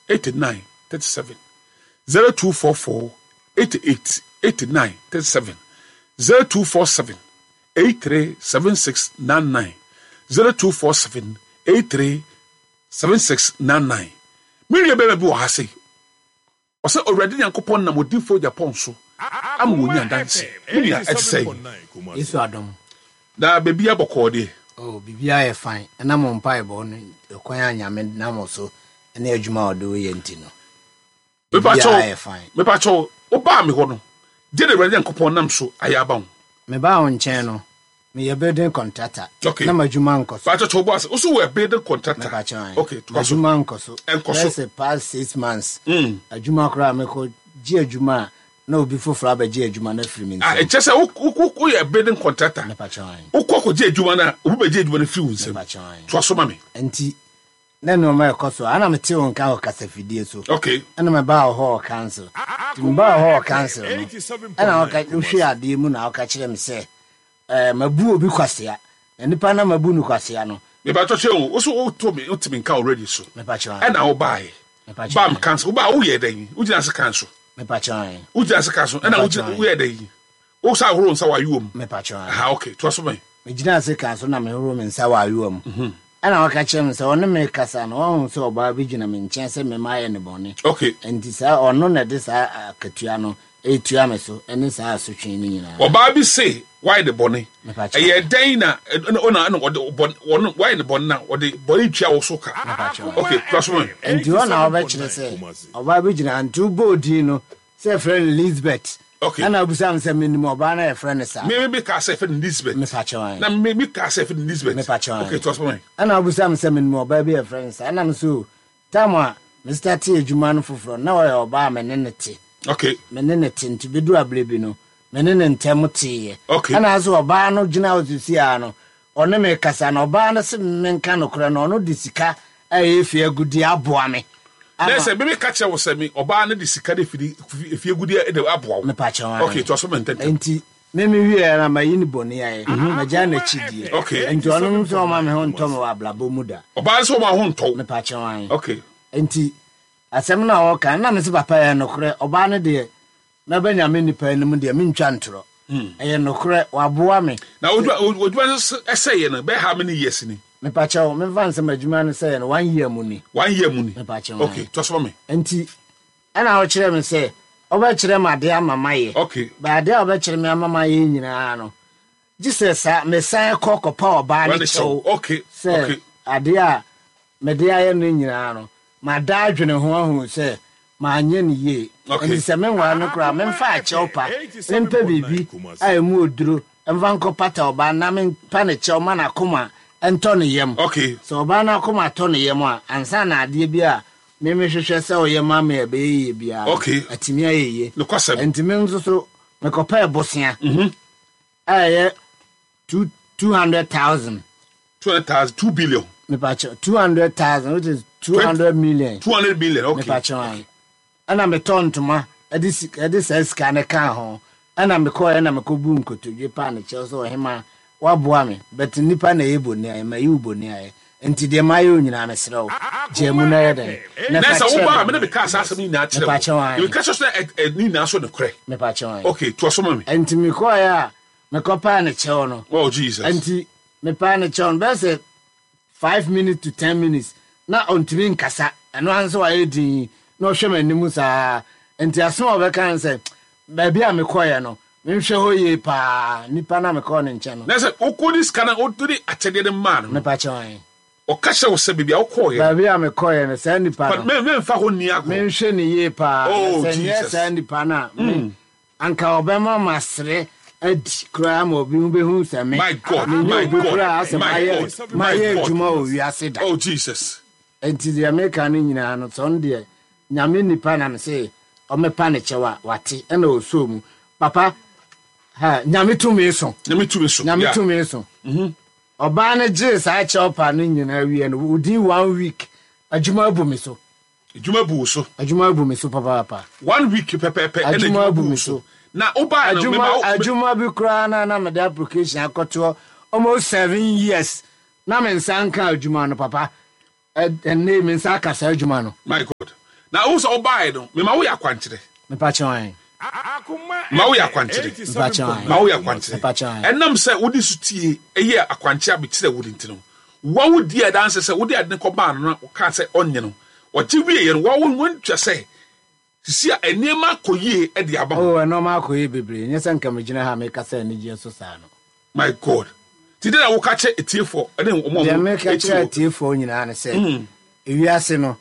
89 37 0244 88 89 37 0247 83 76 99 0247 83 76 99. Me nua bɛrima bi wɔ ha sei. Ɔsɛ Owurade Nyankopɔn nam odiyifoɔ Japan so ama wɔnya adanse. Me nua, ɛte sɛn? Yesu adom. Na baabiara bɔkɔɔ deɛ? Oh, biribiara yɛ fine. Ɛnam wo mpaebɔ ne ɛkwan a Nyame nam wo so ne adwuma a ɔde wo yɛ nti no. Biribiara yɛ fine. Mepakyɛw, wobaa me hɔ no, deɛ na Awurade Nyankopɔn nam so ayɛ aba wo? Mebaa wo nkyɛn no, meyɛ building contractor. Okay. Na m'adwuma nkɔ so. Pakyɛw, kyɛw bɔ ase. Wo so wɔ building contractor? Mepakyɛw, ae. Okay, toa so. M'adwuma nkɔ so. Ɛnkɔ so. Bɛyɛ sɛ past 6 months. Adwuma koraa mekɔ gye adwuma a, na obi foforɔ abɛgye adwuma no afiri me Ah, nsam. ɛkyɛ sɛ woyɛ building contractor. Mepakyɛw, ae. Wokɔ kɔgye adwuma no a, obi bɛgye adwuma no firi wo nsam. Mepakyɛw, ae. Toa so ma me. Nti, na nneɛma ɛkɔ so a, ana mete wo nka wɔ kasafidie so. Ɛna mebaa wo hɔ wɔ council. Nti mebaa wo hɔ wɔ council no, ɛna wohwɛ adeɛ mu na woka kyerɛ me sɛ, mabu obi kwasea. Na nipa na mabu no kwasea no. Mepakyɛw kyerɛ wo, wo so woto me, wote me nka already so. Mepakyɛw, ae. Ɛna wobaeɛ. Mepakyɛw, Bam ae. council, wobaa woyɛ dɛn? Wogyina ase kan so. Mepakyɛw, ae. Wogyina ase kan so, ɛna Mepakyɛw, wogyina, ae. woyɛ dɛn? Wo sa ahorow nsa wɔ ayowa mu. Mepakyɛw, ae. Aha, okay, toa so ma me. Megyina ase kan so na mehoro me nsa wɔ ayowa mu. Ɛna ɔka kyerɛ me sɛ ɔne me kasa no, wahu sɛ ɔbaa bi gyina me nkyɛn sɛ me mayɛ ne bɔne. Nti saa ɔno na ɛde saa akatua no ɛretua me so ne saa asotwe no nyinaa. Ɔbaa bi se wayɛ ne bɔne. Mepakyɛw. Ɛyɛ dɛn na ɔna ɛna ɔde bɔne ɔno wayɛ ne bɔne na ɔde bɔne tua wo so ka? Mepakyɛw. Okay, toa so ma me. Nti hɔ na wɔbɛkyerɛ sɛ ɔbaa bi gyina nti wobɔɔ din no sɛ yɛfrɛ no Lisbeth. Ɛna wobisa me sɛ menim ɔbaa no a yɛfrɛ no saa. Me kaa sɛ yɛfrɛ no Lisbeth. Mepakyɛw, ae. Na me kaa sɛ yɛfrɛ no Lisbeth. Mepakyɛw, ae. Okay, toa so ma me. Ɛna wobisa me sɛ menim ɔbaa bi a yɛfrɛ no saa. Ɛna me so time a me startee adwuma no foforɔ no, na ɔyɛ ɔbaa a me ne no te. Me ne no te nti bɛduru aberɛ bi no, me ne no ntɛm teeɛ. Ɛna nso ɔbaa no gyina hɔ seesei ara no, ɔne me kasa no, ɔbaa no se menka nokorɛ no, ɔno de sika a ɛyɛ fie agudeɛ aboa me. Na sɛ me meka kyerɛ wo sɛ me ɔbaa no de sika de firi fie agudeɛ de aboa wo. Mepakyɛw, ae. Okay, toa so ma ntɛntɛm. Nti me me wieɛ no, mayi no bɔne ayɛ, magyae n'akyi die. Nti ɔno nso ɔmma me ho ntɔ me wɔ abrabɔ mu da. Ɔbaa no sɛ ɔmma wo ho ntɔ wo. Mepakyɛw, ae. Okay. Nti asɛm no a ɔka no, na mese papa ɛyɛ nokorɛ, ɔbaa no deɛ mɛba Nyame nnipa anim deɛ mentwa ntorɔ. Ɛyɛ nokorɛ, waboa me. Na w'adwuma no sɛeɛ no, bɛyɛ how many years ni? Mepakyɛw, memfa nsɛ m'adwuma no sɛeɛ no, one year mu ni. One year mu ni? Mepakyɛw. Okay, toa so ma me. Nti, ɛna ɔkyerɛ me sɛ, ɔbɛkyerɛ me adeɛ ama mayɛ. But adeɛ a ɔbɛkyerɛ me ama mayɛ nyinaa no, gye sɛ saa mesan kɔ kɔpa ɔbaa no kyɛw. Sɛ adeɛ a mede ayɛ no nyinaa no, mada adwene ho ahu sɛ manyɛ no yie. Nti sɛ menware no koraa, memfa akyɛw pa, mempɛ biribi a emu oduro mfa nkɔpata ɔbaa na mempa ne kyɛw ma n'akoma ntɔ ne yam. Sɛ ɔbaa no akoma tɔ ne yam a, ansa na adeɛ bi a me mehwehwɛ sɛ ɔyɛ ma me a ɛbɛyɛ yie biara no, atumi ayɛ yie. Nti me nso so mekɔpɛɛ bosea a ɛyɛ 200,000. 200,000, 2 billion. Mepakyɛw, 200,000, which is 200 million. 200 million, okay. Mepakyɛw, ae. Ɛna metɔ ntoma ɛde sika ɛde saa sika no kaa ho. Ɛna mekɔɔ ɛna mekɔbu nkotodwe paa ne kyɛw sɛ ɔhema waboa me, but nipa na ɛyɛ bɔne ayɛ, mayi wo bɔne ayɛ. Nti deɛ mayɛ wo nyinaa mesrɛ wo, gyaa mu na yɛ dɛn? Na sɛ wobaa me na mekaa saa asɛm nyinaa kyerɛ wo. Mepakyɛw, ae. Meka kyerɛ sɛ ne nyinaa so nokorɛ. Mepakyɛw, ae. Okay, toa so ma me. Nti mekɔɛ a mekɔpaa ne kyɛw no. Oh Jesus. Nti mepaa ne kyɛw no bɛyɛ sɛ 5 minutes to 10 minutes na ɔntumi nkasa. Ɛno ara nso wayɛ din na ɔhwɛ m'anim saa. Nti asɛm a ɔbɛka ne sɛ baabi a mekɔɛ no menhwɛ hɔ yie paa, nipa na mekɔɔ ne nkyɛn no. Na sɛ wokɔ de sika no wode akyɛdeɛ no maa no. Mepakyɛw, ae. Ɔka kyerɛ wo sɛ baabi a wokɔɔyɛ. Baabi a mekɔɔyɛ no saa nipa no. Memfa hɔ nni agorɔ. Menhwɛ ne yie paa. Oh sɛ nyɛ Jesus. saa nipa no a me anka ɔbɛma masere adi koraa ma obi ho bɛhu sɛ me My God, menyɛ my obi God, koraa sɛ my mayɛ God, my mayɛ God. adwuma wɔ wiase da. Oh Jesus. Nti deɛ meka no nyinaa no sɛ ɔno deɛ Nyame nipa na me se ɔmɛpa ne kyɛw a wate ɛna ɔsoo mu papa ha Nyame tumi so. Nyame tumi so. Nyame tumi so. Ɔbaa no gyee saa kyɛw pa no nyinaa wie no within one week adwuma abu me so. Adwuma bu wo so. Adwuma abu me so papaapa. One week pɛpɛɛpɛ ɛna adwuma bu wo so. Na wobaa no mema adwuma bi koraa na mede application akɔtoɔ almost 7 years na me nsa nka adwuma no papa. Ɛnne me nsa aka saa adwuma no. My God. Na wohu sɛ wobaeɛ no, mema woyɛ akwankyerɛ. Mepakyɛw ae. Ma woyɛ akwankyerɛ. Mepakyɛw ae. Ma woyɛ akwankyerɛ. Mepakyɛw ae. Ɛnam sɛ wode sotie yɛɛ akwankyerɛ a mekyerɛɛ wo no nti no, woa wodii adanse sɛ wode ade no kɔmaa no na ɔkaa sɛ ɔnnye no. Ɔgye wieeɛ no, woa woantua sɛ sisi a nneɛma akɔ yie de ama wo. Oh, nneɛma akɔ yie bebree. Nyɛ sɛ nka megyina ha a mekasa anigyeɛ so saa no. My God. Nti dɛn na woka kyerɛ atiefoɔ ne wɔn a Deɛ wɔtie meka kyerɛ wo? atiefoɔ nyinaa ne sɛ, ewiase no,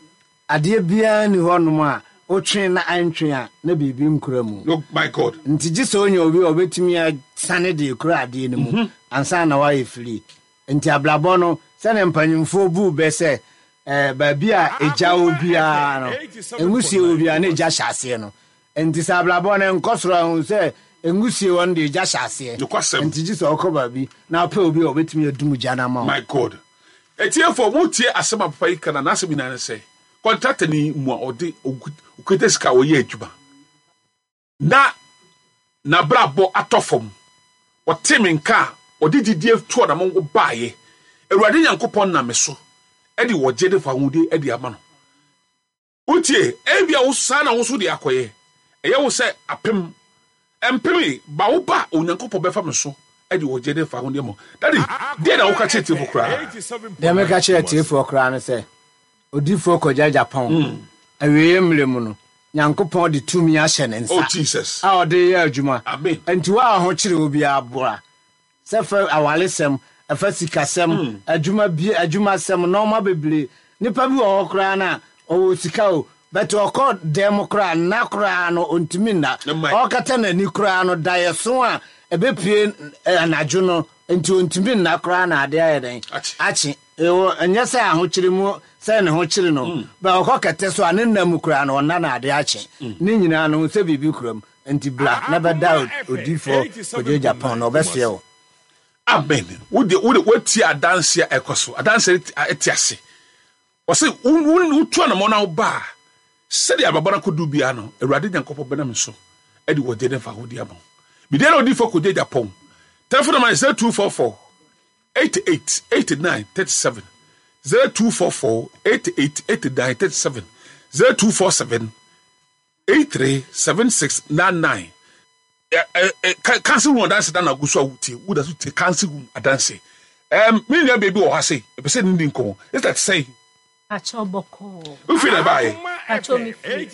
adeɛ biara nni hɔnom a wotwe na antwe a na biribi nkura mu. Oh my God. Nti gye sɛ wonya obi a ɔbɛtumi asane de akura adeɛ no mu ansa na woayɛ firi. Nti abrabɔ no, sɛdeɛ mpanyimfoɔ buu bɛ sɛ, eh, baabi a egya wɔ biara no, nwusie wɔ biara na egya hyɛ aseɛ no. Nti sɛ abrabɔ no nkɔ soro a, hu sɛ nwusie wɔ no deɛ egya hyɛ aseɛ. Nokwasɛm. Nti gye sɛ wokɔ baabi na wopɛ obi a ɔbɛtumi adum gya no ama wo. My God. Atiefo, motie asɛm a papa yi ka na n'asɛm nyinaa ne sɛ, kɔntratani mu a ɔde okita sika a ɔyɛ adwuma na n'abrabɔ atɔ fam. Ɔtee me nka a ɔde gyidie tu anamɔn baeɛ. Awurade Nyankopɔn nam me so de ɔgye ne fawohodie de ama no. Wotie? Ebia wo saa na wo nso de akɔyɛ. Ɛyɛ wo sɛ apem, mpem ba wo ba a Onyankopɔn bɛfa me so de ɔgye ne fawohodie ama wo. Daddy, deɛn na woka kyerɛ atiefoɔ koraa? Deɛ meka kyerɛ atiefoɔ koraa ne sɛ, Odiyifoɔ Kwagya Agyapong, awieeɛ mmerɛ mu no, Nyankopɔn de tumi ahyɛ ne nsa Oh Jesus. a ɔde reyɛ adwuma. Amen. Nti wo a ho kyere wo biara boa. Sɛ ɛfa awaresɛm, ɛfa sikasɛm, adwuma bi, adwumasɛm, nnoɔma bebree. Nipa bi wɔ hɔ koraa no a, ɔwɔ sika o, but ɔkɔ dan mu koraa, nna koraa no, ɔntumi nna. Ɔrekata n'ani koraa no, daeɛso a ɛbɛpue anadwo no nti ɔntumi nna koraa na adeɛ ayɛ dɛn? Akye. Ewɔ, ɛnyɛ sɛ ahokyere mu sɛ ne ho kyere no, but ɔkɔ kɛtɛ so a, ne nna mu koraa no, ɔnna na adeɛ akye. Ne nyinaa no, hu sɛ biribi kura mu. Nti bra na bɛda odiyifoɔ Kwadwo Agyapong na ɔbɛsoɛ wo. Amen. Wo de wo de woatie adanse a ɛkɔ so. Adanse a ɛte ase. Ɔse wo wo wotu anamɔn na woba a, sɛdeɛ abrabɔ no akɔdu biara no, Awurade Nyankopɔn bɛnam so de wɔgye ne fahodie ama wo. Medeɛ na odiyifoɔ Kwadwo Agyapong. Telephone number yɛ 0244 88 89 37, 0244 88 89 37, 0247 83 76 99. Council room adanse da na gu so a wotie woda so tie council room adanse. Um, me nua baabi wɔ hɔ ase ɛpɛ sɛ ne di nkɔmmɔ. Ɛsɛ te sɛ Pakyɛw bɔkɔɔ. Wofiri na ɛbaeɛ? Pakyɛw me firi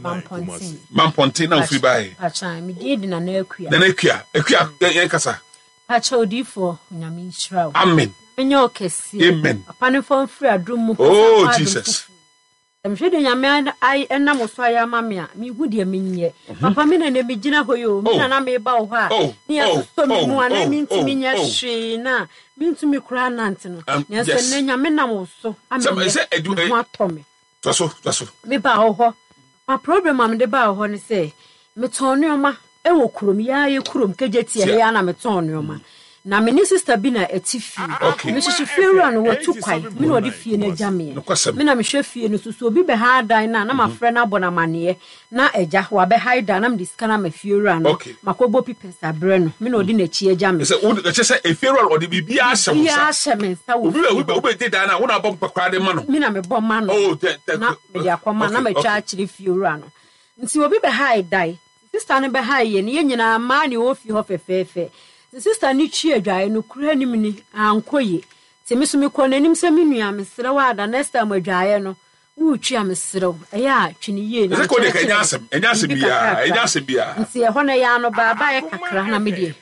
Mampɔnten. Mampɔnten na wofiri baeɛ? Pakyɛw me din de Nana Akua. Nana Akua, Akua yɛn kasa. Pakyɛw odiifoɔ Onyame nhyira wo. Amen. Nyame nyɛ wo kɛseɛ. Amen. Papa no mfa wo mfiri adom mu. Oh Jesus. Sɛ mehwɛ deɛ Nyame nam wo so ayɛ ama me a, menhu deɛ menyɛ. Mhm. Papa, me na na megyina hɔ yi o, me na oh. na meba wo hɔ a, oh. ne yɛsosɔ me mu a na oh. mentumi nyɛ hwee na mentumi koraa nante no. Um, Nanso ɛnnɛ Nyame nam wo so ama me ho atɔ me. Mebaa wo hɔ. Papa, problem a mede baa wo hɔ ne sɛ, metɔn nneɛma wɔ kurom, yɛa yɛ kurom, Kejetia ha yi ara na metɔn nneɛma. Na me ne sista bi na ɛte fie. Me nso so fiewura no watu kwae, me na ɔde fie no agya meɛ. Me na mehwɛ fie no so, so obi bɛha dan no a na mafrɛ no abɔ no amaneɛ na agya wabɛhae dan na mede sika no ama fiewura no, makɔbɔ pipɛs abrɛ no, me na ɔde n'akyi agya me. Ɛkyɛ sɛ efiewura no ɔde biribiara ahyɛ wo nsa. Biribiara ahyɛ me nsa wɔ fie hɔ. Obi bɛgye dan no a, wo na abɔ mpa koraa de ma no. Me na mebɔ ma no na mede akɔma na matwa akyerɛ fiewura no. Nti obi bɛhae dan, Sista no bɛhae yɛn, yɛn nyinaa mmaa ne ɛwɔ fie hɔ fɛfɛɛfɛ. Nti sista no twi adwaeɛ no kura anim ni, ankɔ yie. Nti me nso mekɔɔ n'anim sɛ me nua mesrɛ wo ada next time adwaeɛ no woretwi a mesrɛ wo ɛyɛ a twi no yie na mekyerɛkyerɛ biribi kakrakra. Nti ɛhɔ no ɛyɛ ano baabaeɛ kakra na me deɛ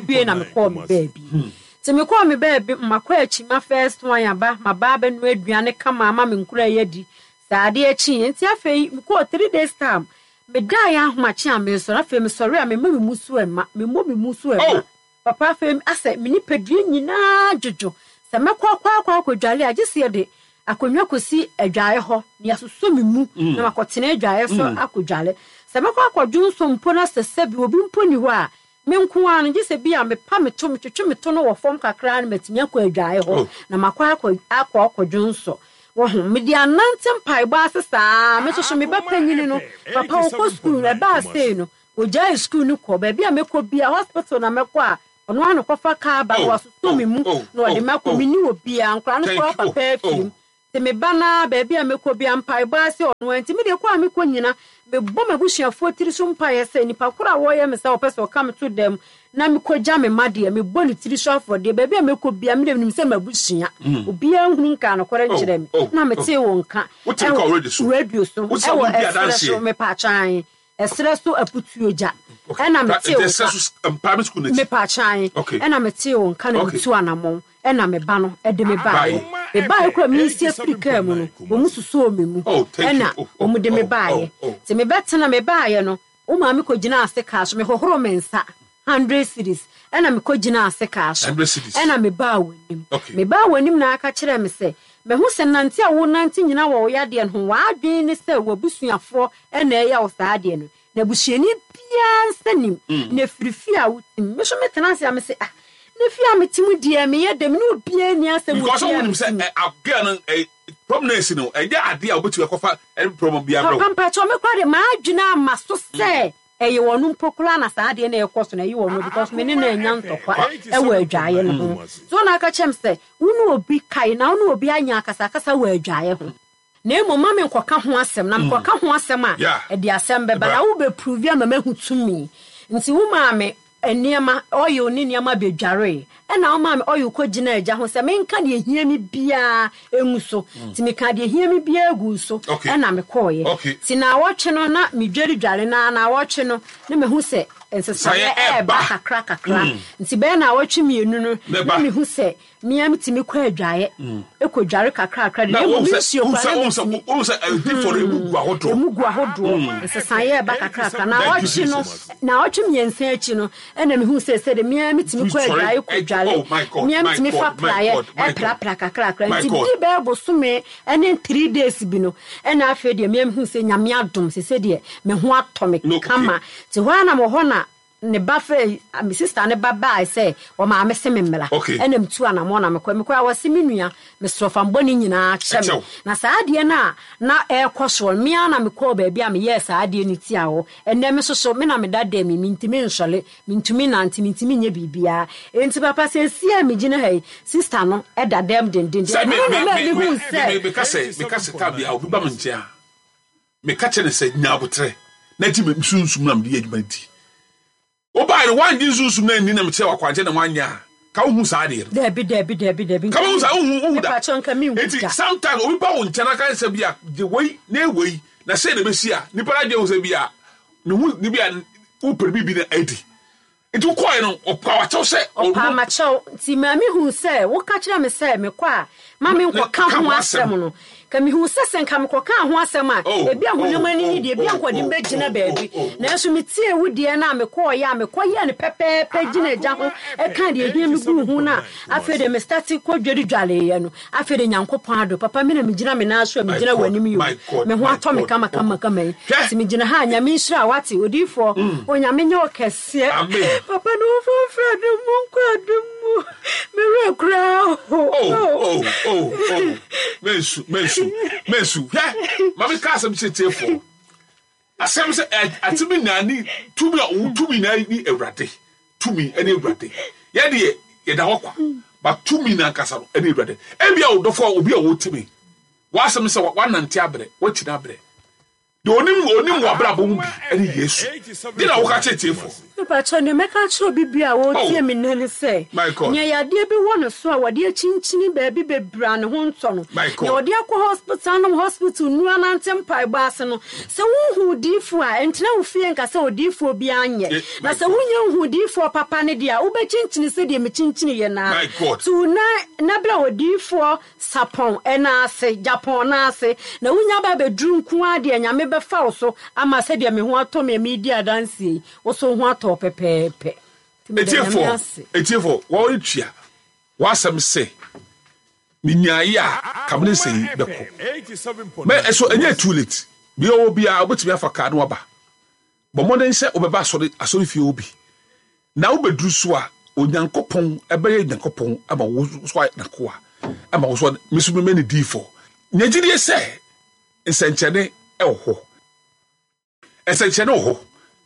mewie na mekɔɔ me baabi. Nti mekɔɔ me baabi makɔ akyi ma first one aba maba abɛnoa aduane kama ama me nkura yi adi. Saa adeɛ kyeeɛ nti afei mekɔɔ 3 days time Medaeɛ ahomakye a meresɔre, afei mesɔre a memma me mu so mma, memmɔ me mu so mma. Oh! Papa, afei asɛ me nipadua nyinaa dwodwo. Sɛ mɛkɔ akɔ akɔ akɔdwale a, gye sɛ yɛde akonnwa kɔsi adwaeɛ hɔ na yɛasosɔ me mu na makɔtena adwaeɛ so akɔdwale. Sɛ mɛkɔ akɔdwo nso mpo na sɛ sɛbi obi mpo nni hɔ a, me nko ara no, gye sɛ bi a mepa me to, metwetwe me to no wɔ fam kakra na matumi akɔ adwaeɛ hɔ Oh! na makɔ akɔ akɔ akɔdwo nsɔ. Wahu? Mede anante mpaebɔ ase saa ara. Me nso so, me ba panyin no, papa ɔkɔ sukuu no, ɛbaa sei no, ogyaee sukuu no kɔ. Baabi a mɛkɔ biara, hospital na mɛkɔ a, ɔno ara na ɔkɔfa kaa ba na Oh, wasosɔ oh, me mu oh, na ɔde oh, me akɔ. oh. Menni obiara, nkwadaa no Thank koraa you. Oh, papa afiri oh. mu. Nti me ba no ara baabi a mɛkɔ biara mpaebɔ ara sɛ ɔno ara nti me deɛ kɔ a mekɔ nyina mebɔ m'abusuafoɔ tiri so mpaeɛ sɛ nipa korɔ a wɔyɛ me saa ɔpɛ sɛ ɔka me to dan mu na mekɔgya me mma deɛ mebɔ ne tiri so afɔdeɛ baabi a mɛkɔ biara me deɛ menim sɛ m'abusua obiara nhunu nkaa nokorɛ nkyerɛ me na metee wo nka ɛwɔ radio so ɛwɔ ɛserɛ so mepaakyɛw Ɛserɛ so aputuo gya ɛna metee wo nka mepakyan ɛna metee wo nka na metu anamɔn ɛna me ba no ɛde me baeɛ me baeɛ kora mensi afiri kaa mu no wɔn susoo me mu ɛna wɔn de me baeɛ te me bɛtena me baeɛ no wo maame kɔ gyina ase kaa so mehohoro me nsa hundred cedis ɛna mekɔ gyinaa ase kaa so ɛna mebaa w'anim mebaa w'anim na aka kyerɛɛ me sɛ mahu sɛ nante a wonante nyina wɔ wo yadeɛ no ho w'adwene ne sɛ w'abusuafoɔ ɛna ɛyɛ wo saa adeɛ no na abusuani biara nsa nim na ɛfiri fie a wotim me so metena ase a mese ah na fie a metim deɛ meyɛ dɛ me ne obiara nni asɛm wɔ because fie a wonim sɛ metim. Girl no problem no asi no ɛnyɛ adeɛ a wobɛtumi akɔfa problem biara brɛ wo. Papa mpakyɛw me koraa deɛ m'adwene ama so sɛ Ɛyɛ ɔno mpo koraa na saa adeɛ no ɛrekɔ so no ɛyɛ ɔno because me ne no anya ntɔkwa ɛwɔ adwaeɛ no ho. So na aka kyerɛ me sɛ wo ne obi kae na wo ne obi anya akasakasa wɔ adwaeɛ ho. Na mmom ma me nkɔka ho asɛm na mekɔka ho asɛm a ɛde asɛm bɛba na wo bɛ prove ama mahu tumi. Nti wo maa me nneɛma, oil ne nneɛma bɛdwaree. Ɛna wo maa me oil kɔ gyinaa gya ho sɛ menka deɛ ɛhia me biara ngu so. Nti mekaa deɛ ɛhia me biara guu so ɛna mekɔeɛ. Nti naawɔtwe no na medwaredware no ara, naawɔtwe no na mahu sɛ nsesaeɛ ɛreba kakra kakra. Nti bɛyɛ naawɔtwe mmienu no na mehu sɛ Me ara metumi kɔ adwaeɛ, kɔdware kakrakra de, na mmom me nsuo koraa na mentumi. Ɛmu gu ahodoɔ, nsesaeɛ reba kakrakra. Naawɔtwe no, naawɔtwe mmiɛnsa akyi no, ɛna mehuu sɛ sɛdeɛ me ara metumi kɔ adwaeɛ kɔdware, me ara metumi fa praeɛ prapra kakrakra. Nti di bɛyɛ bosome ne 3 days bi no, ɛna afei deɛ me ara mehuu sɛ Nyame adom, sɛ sɛdeɛ me ho atɔ me kama. Nti hɔ ara na mewɔ hɔ na ne ba frɛ me sister ne ba baae sɛ ɔmaame se me mmra. Ɛna metu anamɔn na mekɔe. Mekɔe a wɔse me nua mesrɛ fa me bɔne nyinaa kyɛ me. Na saa adeɛ no a na ɛrekɔ soɔ no me ara na mekɔɔ baabi a meyɛɛ saa adeɛ no tiaa hɔ. Ɛnnɛ me nso so me na meda dɛm yi mentumi nsɔre, mentumi nnante, mentumi nyɛ biribiara. Enti papa seesei a megyina ha yi sister no da dɛm dendenden. Sɛ me Ɛno na me ɛmaa me mehuu me sɛ. meka sɛ meka sɛ time biara obi ba me nkyɛn a Meka kyerɛ no sɛ, Nya aboterɛ na gye me sunsum no a mede yɛ adwuma no di. Wobaeɛ no, woangye nsunsum no anni na mekyerɛɛ wo akwankyerɛ na woanyɛ a, ka wonhu saa adeɛ no. Dabi, dabi, dabi, dabi. Ka wonhu saa, wonhu, wonhu da. Mepakyɛw, nka menhu Enti, da. sometimes obi ba wo nkyɛn na aka sɛ bi a, gye wei na yɛ wei, na sei na ɛbɛsi a, nipa no adwene ho sɛ bi a, ne ho, ne bi a, wopɛ biribi na adi. Nti wokɔe no, ɔpaa w'akyɛw sɛ ɔno. Ɔpaa m'akyɛw. Nti Maame huu sɛ woka kyerɛɛ me sɛ mekɔ a ma menkɔka ho asɛm no. Nka mehuu sɛ sɛ nka mekɔkaa ho asɛm a, ebia honam ani no deɛ, ebia nka ɔde me bɛgyina baabi. Nanso metiee wo deɛ no a mekɔeɛ a mekɔyɛɛ no pɛpɛɛpɛ gyina agya ho kaa deɛ ɛhia me guu ho no a, afei deɛ mestate kɔdwaredwareeɛ no, afei deɛ Nyankopɔn adom, papa me na megyina me nan so a megyina w'anim yi o, me ho atɔ me kamakamakama yi. Nti megyina ha a, Nyame nhyira wo, wate, odiyifoɔ, Onyame nyɛ wo kɛse. Seɛ papa no wo fa mfiri adom mu nkɔ adom mu me werɛ koraa ho. Oh oh oh oh mensu mensu mensu hwɛ ma me ka asɛm kyerɛ tiefoɔ asɛm sɛ atumi nyinaa ne tumi a ɔwɔ tumi nyinaa ne awurade tumi ɛne awurade yɛ deɛ yɛda hɔ kwa ba tumi na ankasa no ɛne awurade ebi a ɔdɔfo a obi a ɔtumi w'asɛm sɛ wanante abrɛ wakyina abrɛ Deɛ ɔnim ɔnim w'abrabɔ mu bi ɛne Yesu. Deɛ na woka kyerɛ tiefoɔ? Mepakyɛw, nea mɛka akyerɛ obi biara a ɔretie me nnɛ ne sɛ, nea yadeɛ bi wɔ ne so a wɔde akyinkyini baabi bebree a ne ho ntɔ no, nea wɔde akɔ hospital anom hospital nnuru anante mpaebɔ ase no, sɛ wonhu odiyifoɔ a, ntena wo fie nka sɛ odiyifoɔ biara nyɛ. Na sɛ wonnya nhuu odiyifoɔ papa no deɛ a, wobɛkyinkyini sɛdeɛ mekyinkyiniiɛ no ara. Tu wo nan na bra odiyifoɔ Sapɔn nan ase, Gyapɔn nan ase, na wonya ba abɛduru nko ara deɛ Nyame bɛfa wo so ama sɛdeɛ me ho atɔ me a meredi adanseɛ yi, wo so wo ho atɔ wo pɛpɛɛpɛ. Nti meda Nyame Atiefoɔ, ase. atiefoɔ, wɔretua w'asɛm se, Menyaeɛ a, ka me ne nsɛm yi bɛkɔ. Mɛ ɛso ɛnyɛ too late. Bea ɔwɔ biara, wobɛtumi afa kaa na waba. Bɔ mmɔden sɛ wobɛba asɔre, asɔrefie hɔ bi. Na wobɛduru so a, Onyankopɔn bɛyɛ Nyankopɔn ama wo so ayɛ n'akoa, ama wo so me so mɛmɛ ne diifɔ. Nya gyidie sɛ nsɛnkyerɛnne wɔ hɔ. Nsɛnkyerɛnne wɔ hɔ.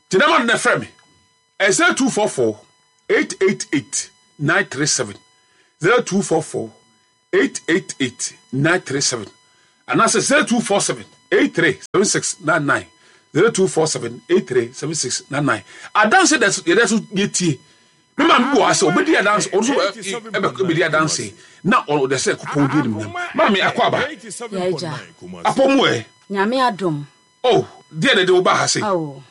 Gyina ma no na frɛ me. 0244 888 937 0244 888 937. Anaasɛ 0247 83 76 99, 0247 83 76 99. Adanse da so yɛda so yɛtie. Me maame bi wɔ ha sɛ ɔbɛdi adanse, ɔno nso ɛbɛdi adanse na ɔde sɛ kopɔn di animuonyam. Maame akɔ aba. Yɛagya. Apɔ mu ɛ. Nyame adom. Oh, deɛ na ɛde wo ba ha se. Oh.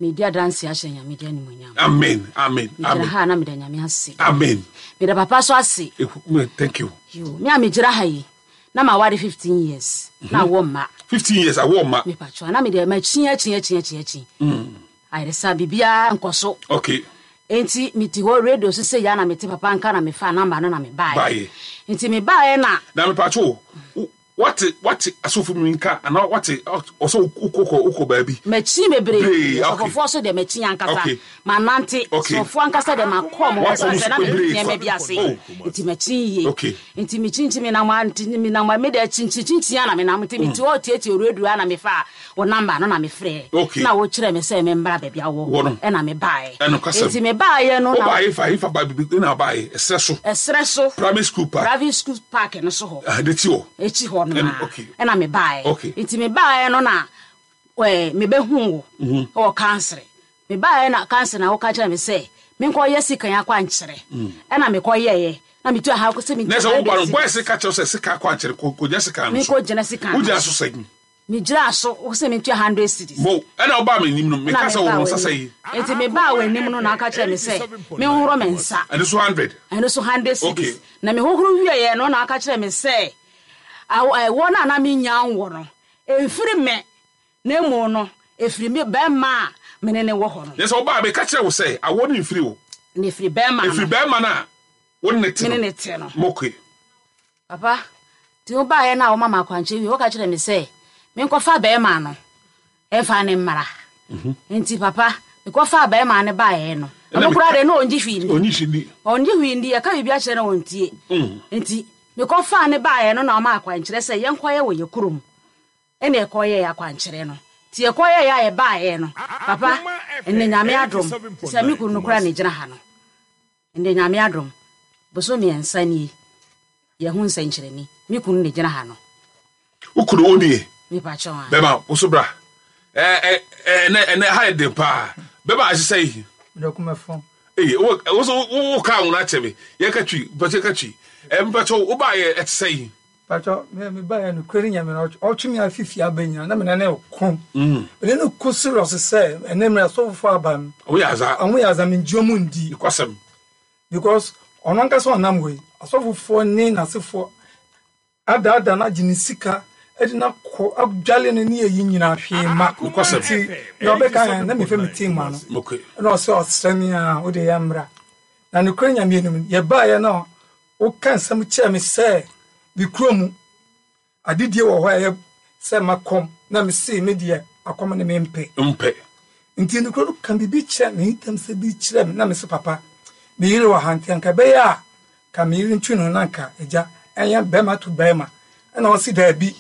Medi adanse ahyɛ Nyame din animuonyam. Amen, amen, Megyina amen. ha a na meda Nyame ase. Amen. Meda papa so ase. Thank you. Yo, me a megyina ha yi, na maware 15 years. Na awɔ mma. 15 years awɔ mma. Mepatwa, na mede makyi akyi akyi akyi akyi. Ayeresa biribiara nkɔ so. Okay. Enti mete hɔ radio so sɛ ya na mete papa nka na mefa namba no na mebaeɛ. Baeɛ. Nti mebaeɛ na. Na mepatwa o, Wate wate asɔfo mi nka anaa wate ɔsɛ wokɔ kɔ wokɔ baabi. Makyin bebree asɔfofoɔ so deɛ makyin ankasa manante asɔfoɔ ankasa deɛ makɔ mo hɔ sɛ na mede nneɛma bi ase nti makyin yie nti mekyinkyin menam a nti menam a mede akyinkyin kyinkyin a na menam nti mete hɔ tietie radio a na mefa wo namba no na mefrɛ na wokyerɛ me sɛ memmra baabi a wɔ ɛna mebaeɛ nti mebaeɛ no na wobaeɛ fa hefa ba bibi na wobaeɛ ɛserɛ so ɛserɛ so primary school park private school park no so hɔ ah n'akyi hɔ akyi hɔ no na ɛna mebaeɛ nti mebaeɛ no na ɛɛ mebɛhu wo mhm. wɔ kansere mebaeɛ na kansere na woka kyerɛ me sɛ menkɔyɛ sikan akwankyerɛ mm. ɛna mekɔyɛeɛ na metu aha sɛ mentu na sɛ woba no bɔyɛ sika kyerɛ sɛ sika akwankyerɛ kɔgyina sika no so menkɔgyina sika no wogyina so sɛn Megyinaa so, wose mentua hundred cedis. Mo, ɛna wobaa m'anim no, meka sɛ hohoro nsa sɛn? Enti mebaa w'anim no na woka kyerɛɛ me sɛ menhohoro me nsa. Ɛno nso hundred? Ɛno nso hundred cedis. Okay. Na mehohoro wieeɛ no na woka kyerɛɛ me sɛ ɛwoɔ no a na mennya nwo no, ɛmfiri me, na mmom no, ɛfiri me barima a me ne no wɔ hɔ no. Na sɛ wobaa a, meka kyerɛɛ wo sɛ awoɔ no mfiri wo. Na ɛfiri barima no. Ɛfiri barima no a wo ne no te no. Me ne no te no. Moke. Papa, nti wobaeɛ no a woma me akwankyerɛ wie, woka kyerɛɛ me sɛ menkɔfa barima no mfa no mmra. Mhm. Nti papa, mekɔfaa barima no baeɛ no, ɔno koraa deɛ na ɔngye hwee ndi. Ɔngye hwee ndi. Ɔngye hwee ndi, yɛka biribi akyerɛ no ɔntie. Mm. Nti mekɔfaa no baeɛ no na ɔma akwankyerɛ sɛ yɛnkɔyɛ wɔ yɛ kurom. Ɛna ɛkɔyɛɛ akwankyerɛ no. Nti yɛkɔyɛeɛ a yɛbaeɛ no, papa, ɛnnɛ Nyame adom, sɛ me kunu no koraa na ɛgyina ha no. Ndɛ Nyame adom, bosoom miɛnsa nie, yɛho nsɛnkyerɛni, me kunu na egyina ha no. Wo kunu wo nie? Mepakyɛw ae. Bɛma, wo so bra. Ɛ ɛ ɛnɛ ɛnɛ ha yɛ den paa. Bɛma ahyehyɛ yi. Mede ko mɛfo. Ee, wo wo so wo kaa ho no akyɛ me. Yɛka twi, mpakyɛ ka twi. Ɛ mpakyɛ wo baa yɛ ɛte sɛ yi. Pacho, me me ba ya no kure ne nyame no ɔtwe me afi fie aba nyina na me ne ne ko. Me ne no ko serious sɛ ɛnɛ mmerɛ asɔfofo aba no. Ɔmo yɛ aza. Ɔmo yɛ aza me ngye ɔmo ndi. Nokwasɛm. Because ɔno ankasa ɔnam hɔ yi asɔfofoɔ ne n'asefoɔ adaadaa no agye ne sika ɛde no akɔ adwale no ne ayi nyinaa hwee ma. Nokwasɛm. Nti deɛ ɔbɛka yɛn na mefa me ti ma no. Okay. Ɛna ɔsɛ ɔsrɛ me a wode yɛ mmra. Na nokorɛ nyame anim yɛbaeɛ no Woka nsɛm kyerɛɛ me sɛ me kuro mu adedie wɔ hɔ a ɛyɛ sɛ makɔm na mesee me deɛ akɔm ne mempɛ. Mpɛ. Nti ne kuro no ka biribi kyerɛ me ntam sɛ bi kyerɛ me na mese papa me yere wɔ ha nti anka ɛbɛyɛ a ka me yere ntwe ne ho na anka agya ɛnyɛ bɛrima to bɛrima ɛna ɔse daabi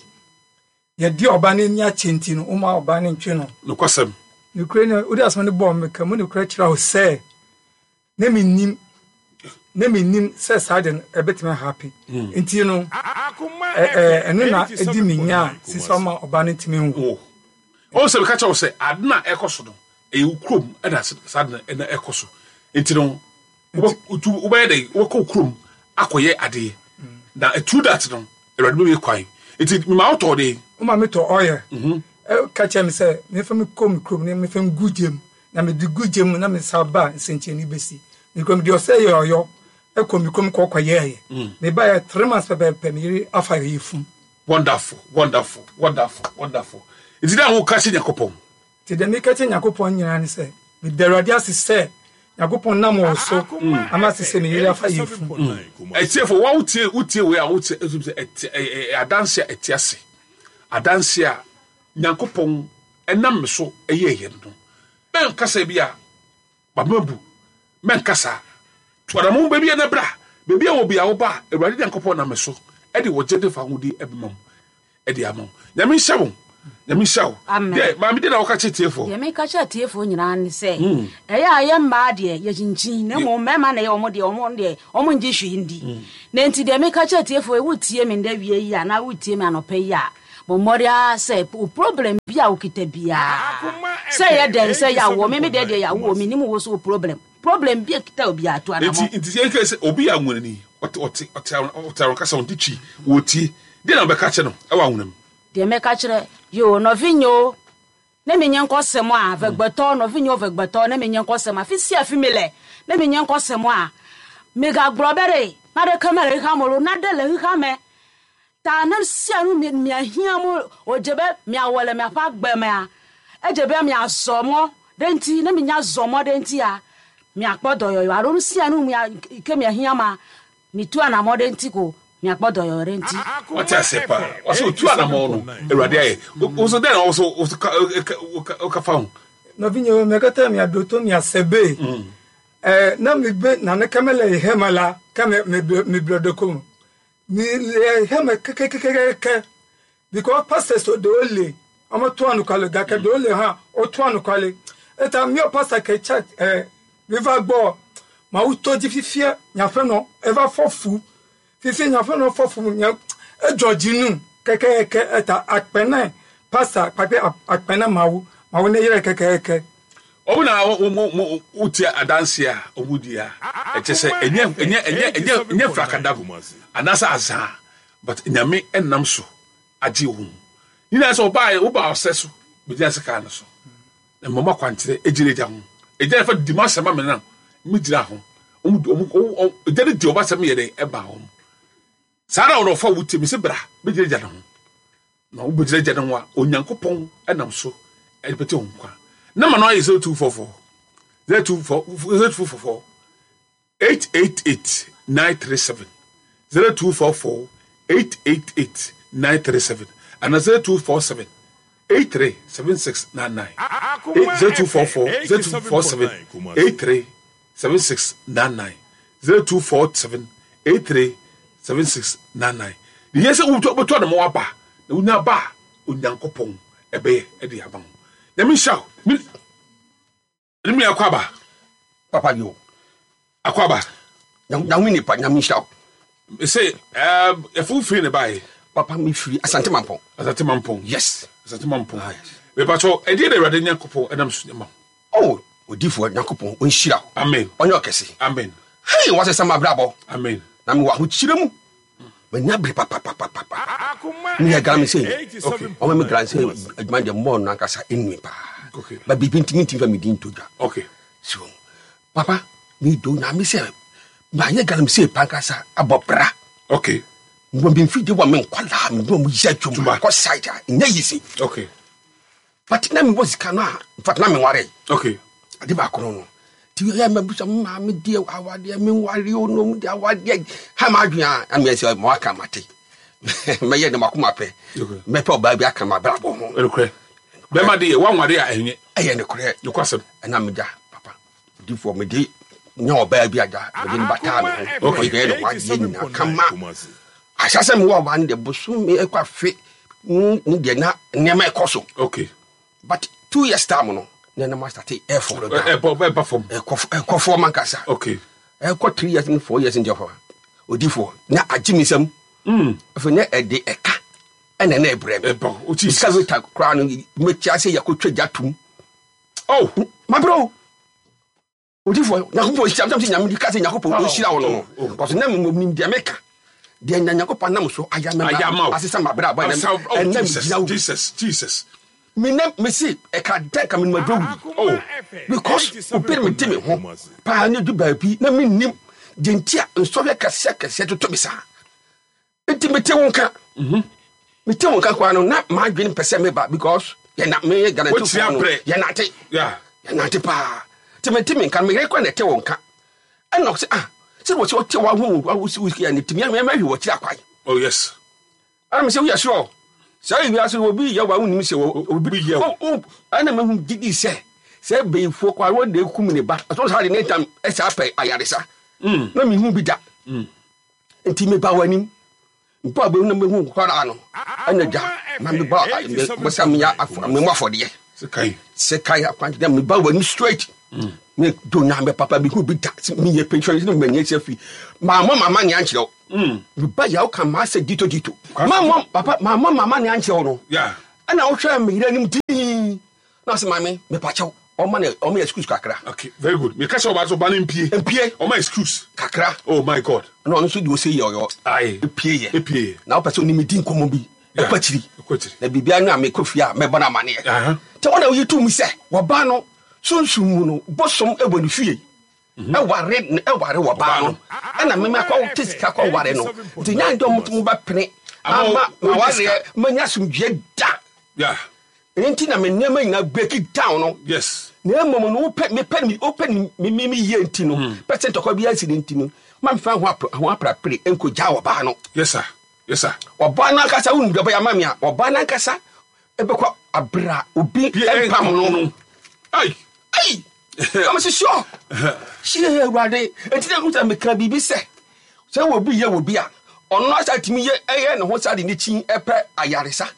yɛde ɔba no ani akyɛ nti no woma ɔba no ntwe no. Nokwasɛm. Nokorɛ ni wode asɛm no bɔɔ me ka mu nokorɛ kyerɛ wo sɛ na mennim na mennim sɛ saa de no ɛbɛtumi ahape hmm. nti no ɛno na ɛdi me nya a sisi ɔma ɔba no ntumi nwo ɔn sɛ meka kyerɛ wo sɛ ade no a ɛkɔ so no ɛyɛ wo kurom ɛna saa de no ɛna ɛkɔ so nti no wobɛyɛ dɛ wobɛkɔ wo kurom akɔyɛ adeɛ hmm. na through that no awurade bɛbɛ kwan nti mema wotɔɔ de woma metɔ ɔyɛ mhm. ka kyerɛ me sɛ mefa me kɔ me kurom ne mefa ngu gyam Na mede gu gya mu na mesan ba a, nsɛnkyerɛnne bɛsi. Me kurom deɛ ɔsɛ yɛ ɔyɔ kɔ me kurom kɔ kɔyɛɛyɛ. Mebaeɛ 3 months pɛpɛɛpɛ me yere afa yɛ fum. Wonderful, wonderful, wonderful, wonderful. Nti dɛn woka kyerɛ Nyankopɔn? Nti deɛ meka kyerɛ Nyankopɔn nyinaa ne sɛ, meda Awurade ase sɛ Nyankopɔn nam wo so ama sesei me yere afa yɛ fum. Atiefo, wa wotie wotie wei a wotie sɛ ɛte ɛyɛ adanse a ɛte ase. Adanse a Nyankopɔn nam me so yɛeɛ no, mɛnka sɛ bi a mabema bu, mɛnka saa. Tu anamɔn baabi a na bra, baabi a wɔ bi a woba a, Awurade Nyankopɔn nam me so de ɔgye ne fahodie bɛma mu de ama wo. Nyame nhyɛ wo. Nyame nhyira wo. Amen. Deɛ maame deɛ na wɔka kyerɛ tiefoɔ. Deɛ meka kyerɛ atiefoɔ nyinaa ne sɛ, ɛyɛ a yɛ mmaa deɛ yɛkyinkyin, na mmom mmarima na ɛyɛ wɔn deɛ wɔn deɛ wɔn ngye hwee ndi. Na nti deɛ meka kyerɛ atiefoɔ yi, wotie me ndɛ wia yi anaa wotie me anɔpa yi a, bɔ mmɔden ara sɛ wo problem bi a wokita biara, sɛ ɛyɛ dɛn, sɛ ɛyɛ awoɔ, me me deɛ deɛ yɛ awoɔ, menim wo so wo problem, problem bi a ɛkita obiara tu Nti anamɔ. nti yɛn kɛ sɛ obi yɛ anwonani, ɔte ɔte ɔte ɔte ahonkasa, ɔnte twi, wɔtie, deɛ na wɔbɛka kyerɛ no ɛwɔ anwona mu. Deɛ mɛka kyerɛ, yoo, nɔvinye o, ne me nye nkɔsɛm a, vɛgbɛtɔ, nɔvinye o, vɛgbɛtɔ, ne me nye nkɔsɛm a, fi sia fi mi lɛ, ne me nye nkɔsɛm a, migagblɔ be ɖe, naɖeke mele xexea me o, naɖe le xexea me, ta ne sia nu mi miahiã mu wòdze be miawɔ le miaƒe agbe mea, edze be miazɔ mɔ ɖe eŋuti, ne minya zɔ mɔ ɖe eŋutia, miakpɔ dɔyɔyɔ alo nu sia nu mia yi ke miahiã ma, Mitu anamɔ ɖe ŋuti ko miakpɔ dɔyɔyɔ ɖe ŋuti. Wate aseɛ paa. Ɔsɛ otu anamɔ no Awurade ayɛ. Wo so dɛn na wo so wo ka fa ho? Nɔvinyewo, mia katã miaɖo to miase be, eh, ne mibe naneke mele xexeme la, ke mi, mi, migblɔ ɖeko me. Mi le xexeme kekekekeke because pastors ɖewo li, wometoa anukware o, gake ɖewo li hã wotoa anukware. Eta míawo pastor ke church, eh, miva gbɔ, Mawu to dzi fifia nye aƒenɔ eva fɔ fu. Fifia nye aƒenɔ fɔ fu nye edzɔ dzi num kekeke eta akpe ne pastor kpakple akpe ne Mawu. Mawu ne yrae kekeke. Wɔn na wɔn wotia adanse a wɔn di a ɛkyɛ sɛ ɛnyɛ ɛnyɛ ɛnyɛ ɛnyɛ ɛnyɛ frakadam anaasɛ azaa but nyame ɛnam so agye wɔn nyinaa sɛ ɔbaa wobaa ɔsɛ so bɛgyina sɛ kaa no so. Na mmom akwankyerɛ gyina agya ho. Agya no fa di m'asɛm ma me na megyina ho. Agya no di ɔba asɛm yɛ dɛ ɛba wɔn. Saa na wɔn ɔfa wo ti me se bra bɛgyina agya no ho. Na wobɛgyina agya no ho a Onyankopɔn nam so ɛbɛte wɔn nkwa. Nama no ayɛ 0244 0244 888 937 0244 888 937 anaa 0247 83 7699 0244 0247 83 7699 0247 83 7699 Deɛ hia sɛ wobɛtɔ ne mo aba na wonya aba a Onyankopɔn ɛbɛyɛ ɛde ama wo. Nyame nhyira wo. Ne me akɔ aba. Papa yo. Akɔ aba. Nyame nipa nyame nhyira wo. Sɛ ɛfo firi ne bae. Papa me firi Asante Mampɔn. Asante Mampɔn. Yes. Asante Mampɔn. Ah, yes. Mepakyɛw ɛdeɛ na Awurade Nyankopɔn ɛnam so ma. Oh, odifoɔ Nyankopɔn ɔnhyira wo. Amen. Ɔnyɛ ɔkɛse. Amen. Hei, wɔasesa m'abrabɔ. Amen. Na mewɔ ahokyerɛ mu. Manya bere papapapapa. Meyɛ galamsey. Okay. Ɔma me galamsey adwuma deɛ mmɔɔ no ankasa ɛnue paa. Okay. Ba biribi nti mentumi fa me din nto dwa. Okay. So, papa, medɔ Nyame sɛ mayɛ galamsey pa ankasa abɔ bra. Okay. Mewɔ me mfidie wɔ me nkwadaa me ne wɔn yɛ adwuma kɔ site a ɛnyɛ easy. Okay. But na mewɔ sika no a in fact na menware. Okay. Ade baako no no. Ti yɛ mabusa me maame deɛ awadeɛ menware o nom deɛ awadeɛ ha ma adwene a na meyɛ sɛ ma waka mate. Mɛyɛ ne makoma pɛ. Mɛpɛ ɔbaa bi aka m'abrabɔ ho. Nokorɛ. Bɛma deɛ wanware a ɛnyɛ. Ɛyɛ nokorɛ. Nokwasɛm. Ɛna megya papa difoɔ mede nya ɔbaa bi agya mede no bataa me ho. Okay. Ɔyɛ ne ho adeɛ nyinaa kama. Ahyɛ sɛ mewɔ ɔbaa no deɛ bosome ɛkɔ afe ne deɛ na nneɛma ɛkɔ so. Okay. But 2 years time no na ɛnam asate ɛfɔ Ɛbɔ ɛba fam. ɛkɔ ɛkɔ fam ankasa. Okay. Ɛkɔ 3 years ne 4 years ndeɛ hɔ odifoɔ na agye me nsam. Afei na ɛde ɛka ɛna na ɛbrɛ me. Ɛba o Jesus. Sika weta koraa no mɛkyia sɛ yɛkɔtwa gya tom. Oh. Mabrɛ o. Odifoɔ Nyankopɔn nhyira me sɛ Nyame ka sɛ Nyankopɔn ɔnhyira wo no no. Oh. Kɔso na mmom deɛ meka deɛ na Nyankopɔn nam so ayɛ Ayɛ ama wo. asesa mabrɛ abɔ Asa- oh, ɛnɛ Jesus, megyina wo. Jesus, Jesus. Me na mesi ɛka dɛn ka menim aduro wuli. Oh. Because obi na mede me ho paa ne du baabi na mennim deɛ nti a nsɔhwɛ kɛseɛ kɛseɛ toto me saa. Nti mete wo nka. Mete wo nka koraa no na m'adwene mpɛ sɛ meba because yɛna meyɛ Wokyia garantifoɔ no brɛ. yɛnante. Yeah. Yɛnante paa. Nti mete me nka no meyere koraa na ɛte wo nka. Ɛna ɔsɛ ah sɛ wɔ sɛ ɔte w'aho wo wo yɛ ne tumi mɛhwɛ wɔ akyiri akwan. Oh yes. Ɛna mesɛ woyɛ sure saa ewiase obi yɛ wa wonim sɛ Obi yɛ wo. Ɛna mehu gyidi sɛ sɛ bɛyifoɔ kɔ a wɔde ekum ne ba ɔtɔ saa de ne ntam ɛsɛ apɛ ayaresa na mehu bi da nti meba w'anim mpo a bɛhu na mehu kɔraa no ɛna gya. Ma mebɔ bɔsɛ meyɛ memmɔ afɔdeɛ. Sekan akwankyerɛ meba w'anim straight. Mm. Me do nyame papa mehu bi da meyɛ pɛntwɛn ne manyɛ sɛ fi. Mammɔ mama ne ankyerɛ wo. Mm. Meba yɛ woka maasɛ dito dito. Mammɔ papa mammɔ mama ne ankyerɛ wo no. Ɛna wohwɛ me yerɛ anim dii. Na ɔsɛ maame mepakyɛw ɔma no ɔma excuse kakra. Okay, very good. Meka sɛ ɔba sɛ ɔba no mpie. Mpie. Ɔma excuse. Kakra. Oh my God. Na ɔno nso deɛ ɔsɛ yɛ ɔyɔ. Aye. Epie yɛ. Epie yɛ. Na ɔpɛ sɛ ɔne me di nkɔmmɔ bi. Ɛkɔ akyiri. Ɛkɔ akyiri. Na biribiara no a mekɔ fie a mɛbɔ no amaneɛ. Nti ɔna ɔyi tum sɛ wɔba no sunsum mu no bosom wɔ ne fie. Mhm. Ɛware ɛware wɔba no. Ɛna meme akɔ te sika kɔ ware no. Nti nya ndɛ ɔmo mo bɛpene ama ma wareɛ manya asomdwie da. Yeah. Ɛno nti na me nneɛma nyinaa break down no. Yes. Na mmom no wopɛ mepɛ me wopɛ me me me yie nti no. Hmm. Pɛ sɛ ntɔkwa bi ansi ne nti no. Ma mfa ho apra ho aprapre nkogya ɔbaa no. Yes sir. Yes sir. Ɔbaa no ankasa wonim deɛ ɔbɛyɛ ama me a ɔbaa no ankasa ɛbɛkɔ abira obi mpam no. Ai. Ai. Na mese sure. Hyie awurade. Nti na nkuta meka biribi sɛ sɛ obi yɛ obi a ɔno asa tumi yɛ ɛyɛ ne ho saa de ne kyi ɛpɛ ayaresa.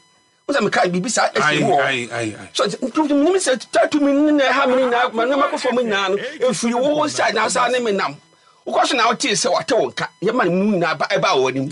Wo sɛ meka biribi saa ɛsi mu hɔ. So nti menim sɛ tatu mi ne na ɛha me nyinaa ma nneɛma kɔ fam nyinaa no ɛfiri wo nsa na saa ne me nam. Wokɔ so na wotee sɛ wate wo nka yɛma no mu nyinaa ba ɛba wɔ anim.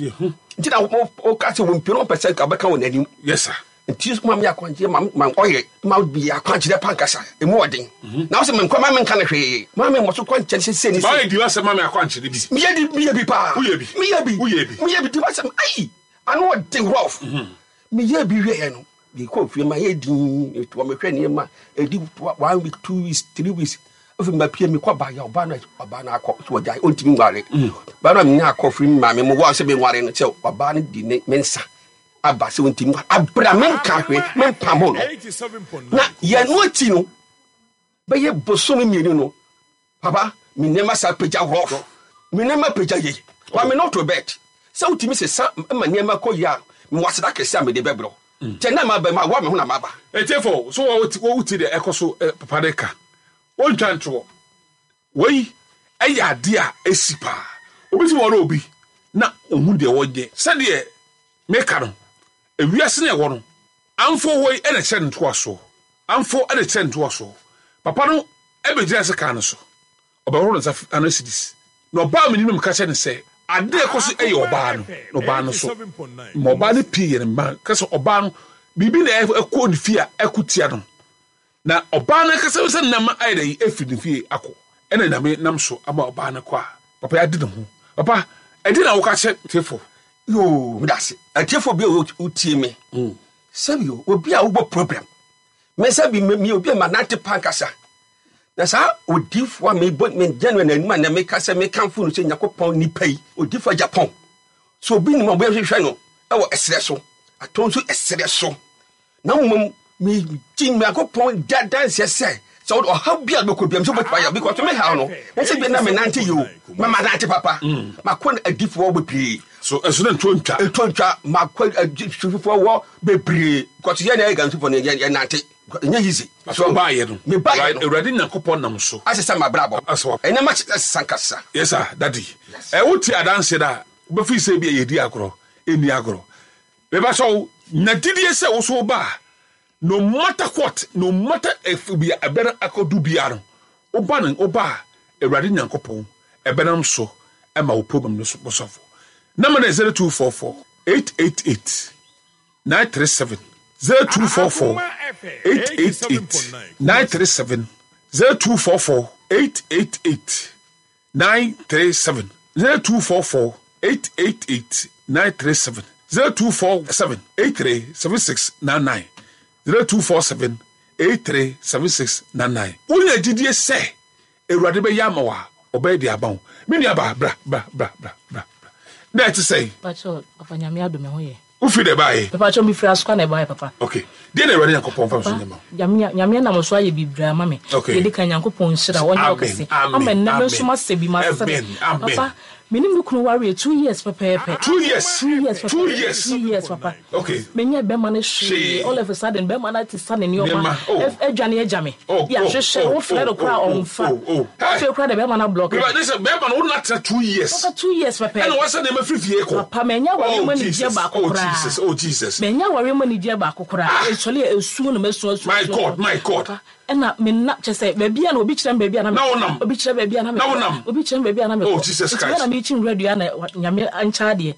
Nti na woka sɛ wɔmpie no wɔpɛ sɛ nka wobɛka wɔ n'anim. Yes sir. Nti ma me akwankyerɛ ma ma ɔyɛ ma bi akwankyerɛ pa nkasa emu ɔden. Mhm. Na wosɛ menkɔ ma menka no hwee. Ma me mmɔ so kwankyerɛ sɛ sɛ ni sɛ. Maa di wasɛm ma me akwankyerɛ bi. Meyɛ di meyɛ bi paa. Woyɛ bi. Meyɛ bi. Woyɛ bi. Meyɛ bi di wasɛm ayi ano ɔden rough. Mhm. Meyɛɛ bi wieeɛ no, mekɔɔ fie mayɛ dinn, metoa mehwɛ nneɛma, ɛdi one week, 2 weeks, 3 weeks. Afei mapue mekɔ ba yɛ ɔbaa no ɔbaa no akɔ so ɔgyae ɔntumi nware. Baa no a menya akɔ firi me maame mu wɔ sɛ menware no sɛ ɔbaa no di ne me nsa aba sɛ ɔntumi nware. Abra menka hwee mempamo no. Na yɛn no akyi no bɛyɛ bosome 2 no Papa, me nneɛma san pagya rough. Me nneɛma pagya yie. But me not Robert. Sɛ wotumi sesa ma nneɛma kɔ yie a, mewɔ aseda kɛse a mede bɛbrɛ wo. Kyɛ na maba mawoa me ho na maba. Etiefo, so wote deɛ ɛkɔ so papa no ka? Wontwa ntoɔ. Wei yɛ adeɛ a ɛsi paa. Obi tumi ware obi na ɔhu deɛ ɔnyɛ. Sɛdeɛ meka no, ewiase no a ɛwɔ no, amfo hɔ yi na ɛkyerɛ ne ntoasoɔ. Amfo de kyerɛ ntoasoɔ. Papa no bɛgyinaa sekan no so. Ɔbɛhoro ne nsa ano cedis. Na ɔbaa m'anim na meka kyerɛɛ no sɛ, Ade a ɛkɔ so yɛ ɔbaa no, na ɔbaa no nso, ma ɔbaa no pie yɛ ne mma. Ka sɛ ɔbaa no, biribi na ɛkɔ ne fie a ɛko tia no. Na ɔbaa no ankasa sɛ nam ayɛ dɛ afiri ne fie akɔ. Ɛna Nyame nam so ama ɔbaa no kɔ a, papa yi ade ne ho. Papa, ɛdeɛn na woka kyerɛ tiefo? Yoo, meda ase. Atiefo bi a wotie me. Sɛbi o, obi a wobɔ problem. Me sɛbi me me obi a manante pa ankasa. Na saa odifo a mebɔ me gyina no n'anim a na meka sɛ mekamfo no sɛ Nyankopɔn nipa yi, odifo Japan. So obi nim a wɔbɛhwehwɛ no wɔ ɛserɛ so, atɔn nso ɛserɛ so. Na mmom megye Nyankopɔn da danseɛ sɛ sɛ wode ɔhaw bi a wobɛkɔ biam sɛ wobɛtumi ayɛ because me haw no ɛsɛ bi na menante yi o mama nante papa makɔ adifoɔ bebree So ɛso na ntuo ntwa? Ntuo ntwa makɔ adifoɔ wɔ bebree because yɛn na yɛ gansifoɔ no yɛ nante ɛnyɛ easy. So ɔbaayɛ no mebaayɛ no Awurade Nyankopɔn nam so asesa m'abrabɔ ɛnneɛma asesa nkasa. Yes sir daddy ɛ wote adanseɛ no a wobɛfiri sɛ bi a yɛdi agorɔ ɛnni agorɔ meba sɛ wo nya gyidie sɛ wo so woba a No matter what, no matter if bi a ɛbɛ no akɔdu biara no, woba no woba a, Awurade Nyankopɔn ɛbɛnam so ɛma wo problem no so bɔsɔfo. Number no yɛ 0244 888 937 0244 888 937 0244 888 937 0244 888 937 0247 83 7699 0247 83 7699 Wonya gyidie sɛ Awurade bɛyɛ ama wo a, ɔbɛyɛ de ama wo. Me nua baa, bra, bra, bra, bra, bra. Na ɛte sɛn? Pacho, papa nyame adom ɛho yɛ. Wofiri dɛ baeɛ? Mepakyɛw mefiri Asokwa na ɛbaeɛ papa. Ok. Deɛ na Awurade Nyankopɔn fa me so nyɛ ma wo? Nyame Nyame nam wo so ayɛ bebree ama me. Ok. Deɛ ɛdi kan Nyankopɔn nhyira wo, ɔnyɛ wo kɛse. Amen, Ama nnɛ me amen, nso masɛ bi, masere. amen, amen. Papa, Me ne me kunu wareɛ 2 years pɛpɛɛpɛ. 2 years. 2 years pɛpɛɛpɛ. 2 years. 2 years papa. Okay. Menyɛ bɛrima no hwee. All of a sudden bɛrima no ate sa ne nneɛma. Adwane agya me. Yɛahwehwɛ wo frɛ no koraa ɔmfa. Afei koraa de bɛrima no ablɔke. Ne sɛ bɛrima no wo na tena 2 years. Papa 2 years pɛpɛɛpɛ. Ɛna wasa nneɛma firi fie kɔ. Papa manya awareɛ mu anigyeɛ baako koraa. Oh Jesus, oh Jesus. Manya awareɛ mu anigyeɛ baako koraa. Ɛsɔre a esu na masu asu. My God, my God. Ɛna me na kyerɛ sɛ baabi a na obi kyerɛ me baabi a na me kɔ. Obi kyerɛ baabi a na me kɔ. Obi kyerɛ me baabi a na me kɔ. Oh Jesus Christ. Nti na me kyi nwura dua na Nyame ankyɛ adeɛ.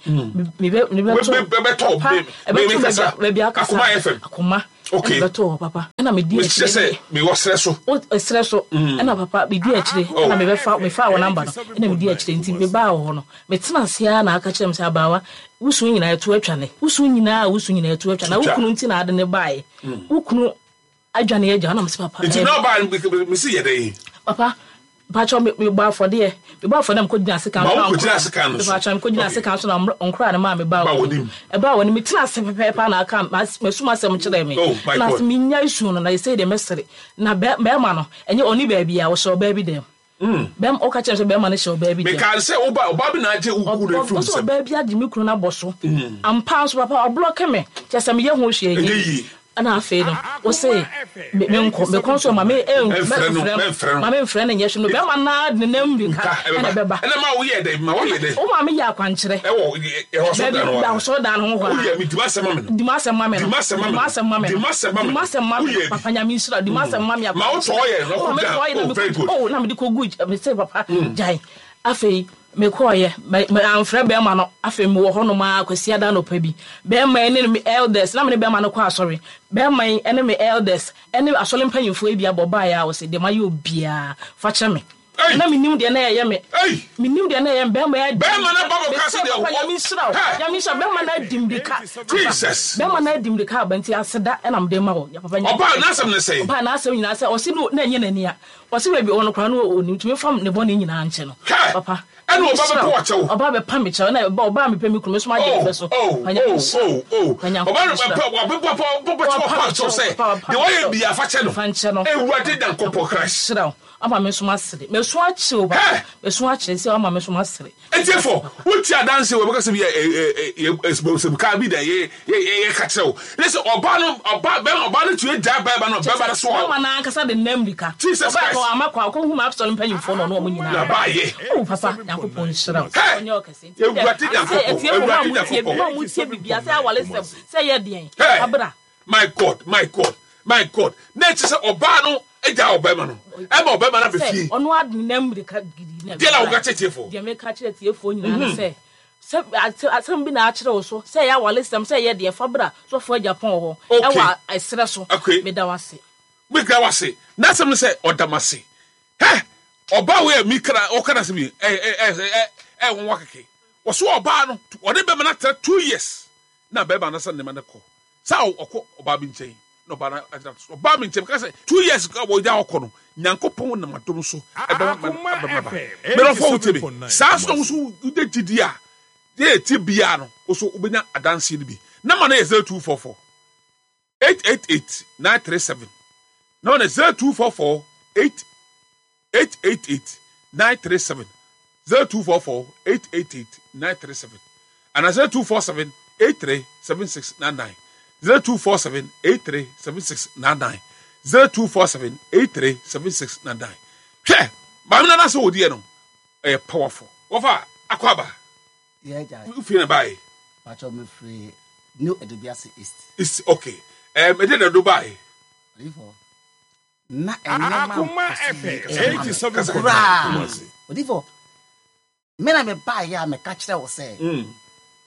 Me bɛ me bɛ to. Bɛ tɔ papa. Me me kasa. Baabi akasa. Akoma FM. Akoma. Okay. Ɛna bɛ to hɔ papa. Ɛna me di akyire. Mekyerɛ sɛ me wɔ serɛ so. O serɛ so. Ɛna papa me di akyire. Ɛna me bɛ fa me fa wɔ number no. Ɛna me di akyire nti me baa wɔ hɔ no. Me tena ase ara na aka kyerɛ me sɛ abaawa wo su nyinaa ɛto atwa ne. Wo su nyinaa wo su nyinaa ɛto atwa na wo kunu nti na ade ne baeɛ. Wo kunu adwane agya na mese papa. Nti na ɔbaa no mese yɛ dɛn? Papa mpakyɛw me mebɔ afɔdeɛ mebɔ afɔdeɛ na mekɔgyina asekan so na nkora asekan no so mpakyɛw mekɔgyina asekan so na nkora no maa me baa wɔ nim ɛbaa wɔ nim metena ase pɛpɛɛpɛ na aka masum asɛm kyerɛ me oh, na ase menya esu no na ɛsɛ deɛ mɛsere na bɛrima no ɛnyɛ ɔne baabi a wɔhyɛ ɔbaa bi dɛm Bɛm ɔka kyerɛ sɛ bɛrima no hyɛ ɔbaa bi dɛm. Mekaa sɛ woba ɔbaa bi na agye wo kunu afiri wo Ɔsɛ nsam. ɔbaa bi agye me kunu no abɔ so. Ampa nso papa ɔblɔke me. Kyerɛ sɛ meyɛ ho hwee Ɛnyɛ yie. Ɛna afei no ɔse me menkɔ mekɔ nso ma me Ɛmfrɛ no, mɛmfrɛ no mɛmfrɛ no. ma memfrɛ no nyɛ hwee no bɛrima no ara de ne nan mmirika Nka ɛna ɛbɛba. ɛbɛba. Ɛna ma woyɛɛ dɛn? Ma woyɛɛ dɛn? Wo maame yɛ akwankyerɛ. Ɛwɔ ɛwɔ asɔredan Baabi no hɔ ara. asɔredan no ho hɔ ara. Woyɛ me di m'asɛm ma me no. Di m'asɛm ma me no. Di m'asɛm ma me Di no. m'asɛm ma me Di no. m'asɛm ma Di me no. m'asɛm ma me no. Woyɛ bi. Papa Nyame nhyira wo. Di m'asɛm ma me Ma wo akwankyerɛ. tɔɔ yɛ na Wo kɔ maame gyina. tɔɔ yɛ na Oh me very kɔ good. oh na mede kɔ gu me se papa gyae. Afei mekɔɔyɛ me me amfrɛ bɛrima no. Afei mewɔ hɔnom ara Kwasiada anɔpa bi. Bɛrima yi ne me elders na me ne bɛrima no kɔ asɔre. Bɛrima yi ne me elders ne asɔre mpanyimfoɔ yi bi abɔ baeɛ a ɔse deɛ mayɛ obiara fa kyɛ me. Ei! Na menim deɛ na ɛyɛ me. Ei! Menim deɛ na ɛyɛ me. Bɛrima yi adi. Bɛrima no aba bɛka sɛ Mese deɛ papa wɔ. Nyame nhyira wo. Hɛ! Nyame nhyira wo. Bɛrima no adi mmirika aba. Jesus! Bɛrima no adi mmirika aba nti aseda na mede ma wo. Papa Nyame Ɔbaa nhyira n'asɛm ne sɛn? Ɔbaa n'asɛm nyinaa sɛ ɔse no na ɛnyɛ n'ani a. Ɔse baabi ɔwɔ no koraa no ɔnim nti memfa ne bɔne nyinaa nkyɛ no. Hɛ! Papa Ɛna Nyame ɔba nhyira bɛpɛ wo. w'akyɛw. Ɔba bɛpa me kyɛw. Ɛna ɔba a mepɛ me kunu me nso magye ne Oh, bɛ so. oh, Papa Nyame oh, nhyira wo. oh, oh. Papa Nyankopɔn Ɔba no nhyira bɛpɛ wo. wabɛpɛ bɛkyɛ Wapa wapa me kyɛw kyɛw. sɛ Papa wapa deɛ me wayɛ kyɛw. biara fa kyɛ no. Fa nkyɛ no. Awurade Nyankopɔn Christ. Nhyira wo. Ama me nso masere. Masu akyere o papa. Hɛ! Masu akyere sɛ wama me nso masere. Etiefo, wotie adanse wɔ bɛka sɛ bi yɛ kaa bi da yɛ yɛ yɛ ka kyerɛ wo. Ne sɛ ɔbaa no ɔbaa bɛrima ɔbaa no tumi gyaa bɛrima no bɛrima no so hɔ. Bɛrima no ankasa de nam mirika. Jesus Ɔbaa Christ. kɔ ama kɔ akɔhu ma asɔre mpanyimfoɔ na ɔne wɔn nyinaa. Na baayɛ. Oh papa, Nyankopɔn nhyira wo. Hɛ! Ɔnyɛ ɔkɛse. Nti Ewurade sɛ Nyankopɔn, atiefo mo a Ewurade motie Nyankopɔn. mo a motie biribiara sɛ awaresɛm sɛ ɛyɛ deɛn. Hɛ! Abra. My God, my God, my God. Na ɛkyerɛ sɛ ɔbaa no gyaa ɔbarima no, ɛma ɔbarima no aba fie. Sɛ ɔno ade ne nan mmirika gidi na Deɛ na woka kyerɛ tiefoɔ? Deɛ meka kyerɛ tiefoɔ nyinaa ne sɛ, sɛ asɛm bi na akyerɛ wo so, sɛ ɛyɛ awaresɛm, sɛ ɛyɛ deɛ, fa bra sɔfoɔ Agyapong hɔ, ɛwɔ ɛserɛ so. Meda wo ase. Meda wo ase. N'asɛm ne sɛ ɔda m'ase. Hɛ! Ɔbaa wei a meka na ɔka n'asɛm yi, ɛ ɛ ɛ ɛ ɛ nwanwa kɛkɛ. Wɔso ɔbaa no, ɔne bɛrima no atra 2 years na bɛrima no asan ne ma no kɔ. Sɛ ɔkɔ ɔbaa bi nkyɛn na ɔbaa no agyina so. Ɔbaa mi nkyɛn meka sɛ 2 years a wɔgya ɔkɔ no, Nyankopɔn nam adom so ɛbɛma ma no aba ma ba. Mmerɛfoɔ wotie me. Saa nso na wo nso wode gyidie a deɛ ɛtie biara no, wo nso wobɛnya adanseɛ no bi. Number no yɛ 0244 888 937. Number no yɛ 0244 8 888 937. 0244 888 937. Ana 0247 83 7699. 0247 83 7699. 0247 83 7699. Hwɛ, maame no anasɛ wɔdiɛ no, ɛyɛ powerful. Wɔfa akɔ aba. Wofiri na baeɛ? Pacho mefiri New Edubiase East. East, okay. Ɛde na do baeɛ? Odifo, na nneɛma Akoma nkɔ so yie FM ɛma me 87.9 koraa. Kumasi. Odifo, me na mebaeɛ a meka kyerɛ wo sɛ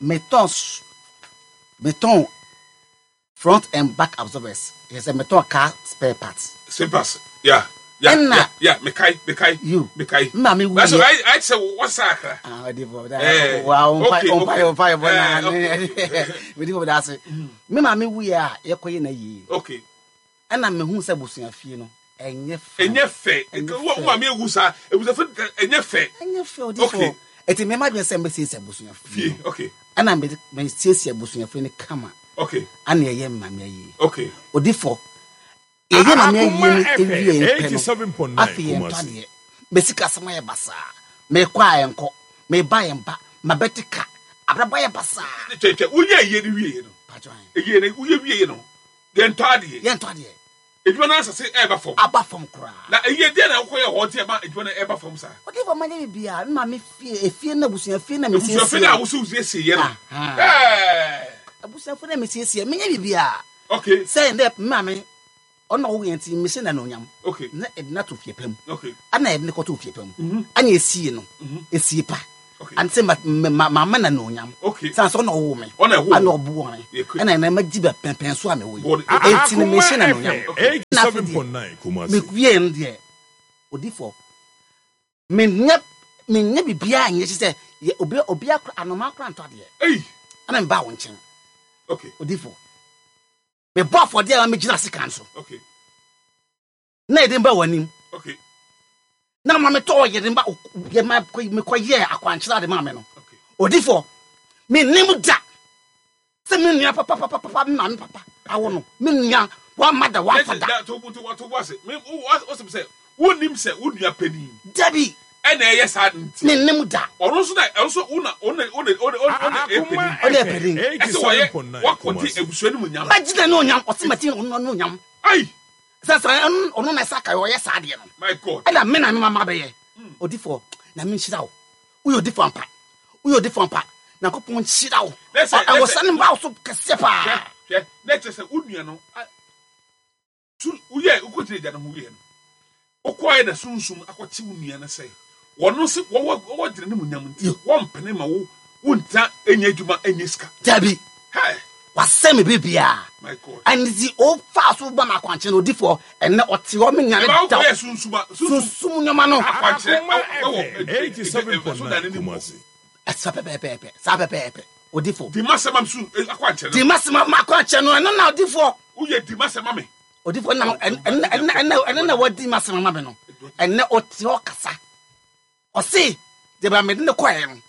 metɔn metɔn front and back absorbers, yɛ sɛ metɔn car spare parts. Spare parts, yeah. Yeah, Ɛna yeah, yeah, mekae, mekae, you, mekae. me maame That's wuiɛ. I, I sɛ wɔsa akra. Ah, odifo, da, Eh, wa, ɔmpa, okay, ɔmpa, okay. ɔmpa, ɔmpa, Eh, na, okay. odifo da ase. Me maame wuiɛ a yɛkɔyɛ na yie. Okay. Ɛna mehu sɛ busuafie no ɛnyɛ fɛ. Ɛnyɛ fɛ. Ɛnyɛ Wo fɛ. maame ewu saa, ebusafo ɛnyɛ fɛ. Ɛnyɛ fɛ odifo. Okay. Eti mɛma dwen sɛ mbɛsiesie abusuafie Fie, no. okay. Ɛna mesiesie abusuafie no kama. Okay. Ɛna ɛyɛ maame ayie. Okay. Odifo, yɛyɛ maame ayie Akoma no FM ewie pɛ no, 87.9 afei yɛntɔ Kumasi. adeɛ. Mesi kasɛm ayɛ basaa. Mekɔ a ɛnkɔ. Meba yɛn ba, mabɛte ka. Abrabɔ ayɛ basaa. Twɛ twɛ, woyɛ ayie no wieɛ no. Pakyɛ ahe. Ayie no woyɛ wieɛ no, yɛntɔ adeɛ. Yɛntɔ adeɛ. Adwuma no asase ɛreba fam. Aba fam koraa. Na ayie deɛ na wokɔyɛ hɔ nti ɛma adwuma no ɛreba fam saa? Odiyifoɔ manyɛ biribiara, me maame fie, efie no abusua fie na mesiesie. Abusua fie no a wosɛ wosiesie yɛ no. Ɛɛ. Abusua fie na mesiesie, menyɛ biribiara. Okay. Sɛ ndɛ me maame Ɔno na ɔwoo yɛn nti mehyɛ no anuonyam. Okay. Na yɛde no ato fie pa mu. Okay. Ɛna yɛde no kɔtoo fie pa mu. Mm -hmm. Ɛna yɛsie no. Mm -hmm. Esie pa. Okay. Ante ma ma ma ma no anuonyam. Okay. San sɛ ɔna ɔwoo me. Ɔna ɛwoo. Ɛna ɔboɔ me. Ɛna ɛna ma gyi bɛ pɛnpɛn so a mewɔ yi. Enti no mehyɛ no anuonyam. Okay. Na afei deɛ mewie no deɛ odifo menyɛ menyɛ biribiara nyɛ kyɛ sɛ yɛ obi obi akora anoma akora ntɔ adeɛ. Ei. Ɛna mebaa wo nkyɛn. Okay. Odifo. Mebɔ afɔdeɛ a megyina sekan so. Na yɛde mba w'anim. Na ma metɔɔ yɛde mba yɛ ma mekɔyɛɛ akwankyerɛ ade maa me no. Odifoɔ, mennim da sɛ me nua papapapapa me maame papa awo no me nua wamma da wamfa da. Wonnim sɛ wo nua panin. Dabi. Ɛna ɛyɛ saa nti. Mennim da. Ɔno nso na ɛno nso wo na ɔno na ɔno ɔno ɔno na ɛyɛ panin. Ɔno yɛ panin. Ɛsɛ wɔyɛ wakɔgye abusua no mu nyam. Magyina ne onyam ɔse magye ɔno ne onyam. Ayi. Sɛ sɛ ɔno ɔno na ɛsɛ aka ɔyɛ saa adeɛ no. My God. Ɛna me na me mama bɛyɛ. Odifoɔ Nyame nhyira wo. Woyɛ odifoɔ ampa. Woyɛ odifoɔ ampa. Nyankopɔn nhyira wo. Ɛwɔ sɛ ne mba wo so kɛseɛ paa. Hwɛ hwɛ na ɛkyerɛ sɛ wo nua no. Su, woyɛɛ, wokɔgyina agya no ho wieɛ no, wokɔɔɛ na sunsum akɔkye wo nua no sɛ wɔno se wɔwɔ wɔwɔ gyina ne mu nyam nti wɔmpene ma wo wontena nyɛ adwuma nyɛ sika. Dabi. Hey! Wasɛe me biribiara. My God. Ɛno nti ɔfaa so ba me akwankyerɛ no odifoɔ ɛnnɛ ɔte hɔ me nya ne Ɛma da. wokɔyɛ sunsum a sunsum Sunsum nneɛma no. akwankyerɛ Akoma ɛwɔ FM ɛso dan no mu hɔ. 87.9 Kumasi. Saa pɛpɛɛpɛ, saa pɛpɛɛpɛ. Odifo. Di m'asɛm am su eh, akwankyerɛ no. Di m'asɛm am akwankyerɛ no, ɛno na odifoɔ. Woyɛ di m'asɛm ma me. Odifo ɛna ɛna ɛna ɛna ɛna na wadi m'asɛm ama me no. Ɛnɛ ɔte hɔ kasa. Ɔse deɛ ba mede ne kɔɛ no,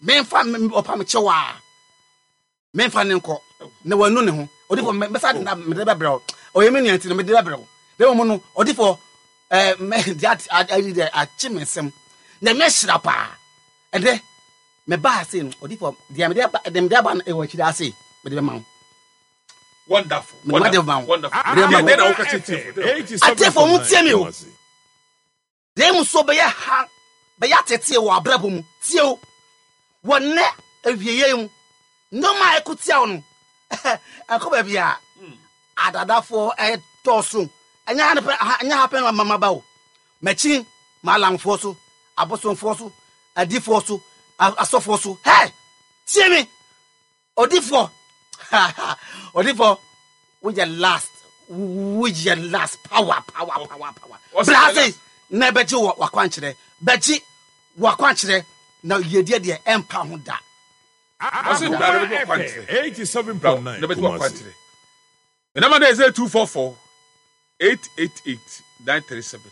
memfa ɔpa me kyɛw a, memfa ne nkɔ na wanu ne ho. Odifo mɛsa de na mede bɛbrɛ wo. Ɔyɛ me nua nti no mede bɛbrɛ wo. Na mmom no odifo ɛɛ mɛ deɛ ayi deɛ akye me nsam. Nyame ahyira paa. Ɛnɛ mebaa ase no odifo deɛ mede aba deɛ mede aba no ɛwɔ akyiri ase mede bɛma wo. Wonderful. Mede wade ma wo. Wonderful. Mede ma wo. Deɛ na woka kyerɛ tiefo. Atiefo mo tie me o. Deɛ mu so bɛyɛ ha bɛyɛ ateteɛ wɔ abrabɔ mu tie o. Wɔ nnɛ awieeɛ mu nneɛma a ɛko tia wo no ɛkɔ baabi a adadafoɔ ɛdɔɔso ɛnyɛ ha ne pɛ ɛnyɛ ha pɛ na mama ba o. Makyin maalamfoɔ so abosomfoɔ so adifoɔ so asɔfoɔ so hɛ tie me Odifoɔ odifoɔ woyɛ last woyɛ last power power power power bra ase na ɛbɛgye wɔ wakwankyerɛ bɛgye wakwankyerɛ na yiedie deɛ ɛmpa ho da. Ɔse bra na bɛgye wakwankyerɛ bra na bɛgye wakwankyerɛ Me number no yɛ 0244 888 937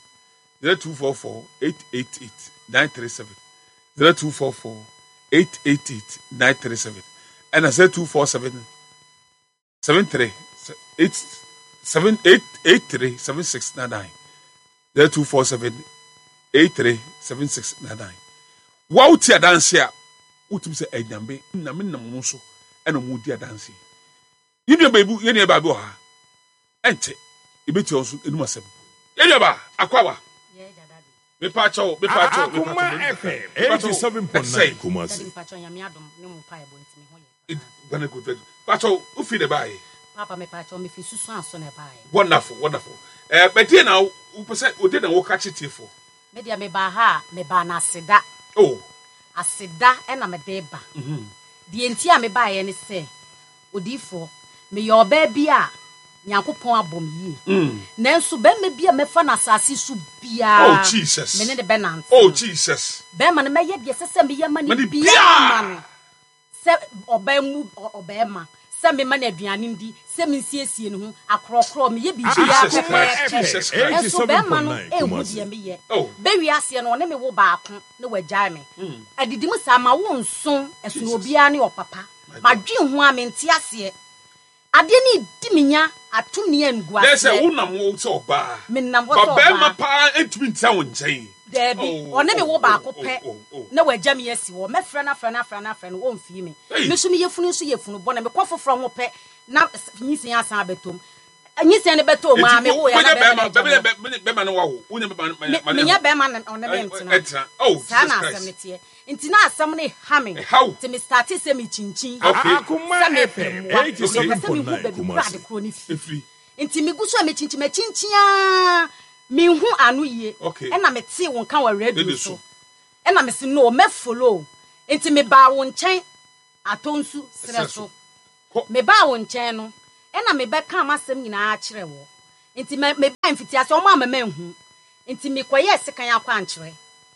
0244 888 937 0244 888 937 ɛna 0247 73 8 7 8 83 7699 0247 83 7699 Wa wotie adanse a wotumi sɛ anyame nyame nam wɔn so ɛna wɔn di adanse. Yɛn nua baabi yɛn nua baa bi wɔ ha. Ɛnkyɛ yɛbɛtia wɔn so anim asɛm. Yɛn nua baa akwaaba. Mepa kyɛw mepa kyɛw mepa Akoma kyɛw. FM Mepa kyɛw ɛte sɛn? 87.9 Kumasi. Daddy mpakyɛw nyame adom ne mo mpaebɔ nti me ho yɛ paa. Ghana good very Pakyɛw wofi na ɛbaayɛ. Papa mepakyɛw mefi susuanso na ɛbaayɛ. Wonderful wonderful. Ɛɛ bɛdeɛ na wopɛ sɛ wode na woka kye tiefoɔ. Me deɛ mebaa ha a mebaa no aseda. Oh. Aseda na mede ba. Deɛ nti a mebaeɛ ne sɛ, odiyifoɔ, meyɛ ɔbaa bi a Nyankopɔn abɔ me yie. Nanso barima bi a mɛfa no asase so biara, Oh, me ne no bɛnante. Oh, Jesus. Barima no, mɛyɛ deɛ ɛsɛ sɛ meyɛ ma no biara ma no. Sɛ ɔbaa mu ɔbarima, sɛ mema no aduane ndi, sɛ mensiesie ne ho, akorɔkorɔ, meyɛ biribiara pɛpɛɛpɛ. Nanso barima no nhu deɛ meyɛ. Bɛwie aseɛ no, ɔne me wo baako na wagyae me. Adidi mu saa, mawo nson, ɛsono obiara ne ɔpapa. Madwen ho ara, mente aseɛ. Adeɛ no redi me nya, ato me Nɛ sɛ animguaseɛ. wonam hɔ sɛ ɔbaa. Menam hɔ Ba sɛ barima ɔbaa. paa ntumi ntra wo nkyɛn. Daabi, ɔne me wo baako pɛ na wagya me asi hɔ. Mɛfrɛ no afrɛ no afrɛ no afrɛ no, ɔmfii me. Me nso me yafunu nso yɛ funu bɔne. Mekɔ foforɔ ho pɛ na nyinsɛn asan abɛtɔ mu. Nyinsɛn no bɛtɔɔ mu ara, mewoeɛ na bɛrima no agya me hɔ. Menyɛ bɛrima na ɔne me ntena. Saa na asɛm no teɛ. Nti na asɛm no ha me. Nti me startee sɛ mekyinkyin sɛ mepɛ mmoa. Mepɛ sɛ mehu baabi korɔ ade korɔ no firi. Nti megu so a mekyinkyin, makyinkyin ara menhu ano yie. Ɛna metee wo nka wɔ radio so. Ɛna mese no, mɛ follow. Nti mebaa wo nkyɛn Atonsu serɛ so. Mebaa wo nkyɛn no, ɛna mebɛkaa m'asɛm nyinaa kyerɛɛ wo. Nti me, mebae mfitiase, wɔn amma manhu. Nti mekɔyɛɛ sekan akwankyerɛ.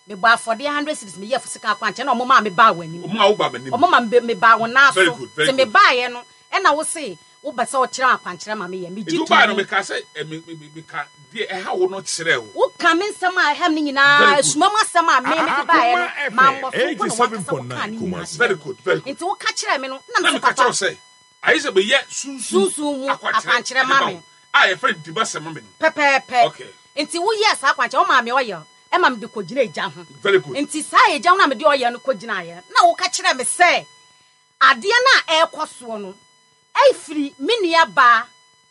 Mebɔɔ afɔdeɛ hundred cedis, meyɛɛ sekan akwankyerɛ, ɛna wɔmaa mebaa w'anim. Wɔmaa wo baa m'anim. Wɔma me, mebaa wo nan Very so. good, very Nti good. mebaeɛ no, ɛna wo se wopɛ sɛ wokyerɛ akwankyerɛ ma meyɛ. Megye Nti wobaeɛ no, too mu. mekaa sɛ, eh, me, me, me, meka deɛ ɛha wo no kyerɛɛ wo. Woka me nsɛm a ɛha me no nyinaa, Very good. asuma mu asɛm a me mede baeɛ no, Akoma mammɔ FM so mpo na w'ankasa wokaa ne nyinaa 87.9 Kumasi. kyerɛɛ Very me. good, very good. Nti woka kyerɛɛ me no, na Na mese, meka Papa, kyerɛ wo sɛ, Ayɛ sɛ meyɛ sunsum Sunsum mu akwankyerɛ akwankyerɛ de ma ma me. wo a yɛfrɛ no dimasɛm ma me no. Pɛpɛɛpɛ. Okay. Nti woyɛɛ saa akwankyerɛ, womaa me oil ma mede kɔgyinaa egya ho. Very good. Nti saa egya ho no a mede oil no kɔgyinaeɛ no, na woka kyerɛɛ me sɛ adeɛ no a ɛrekɔ soɔ no firi me nua baa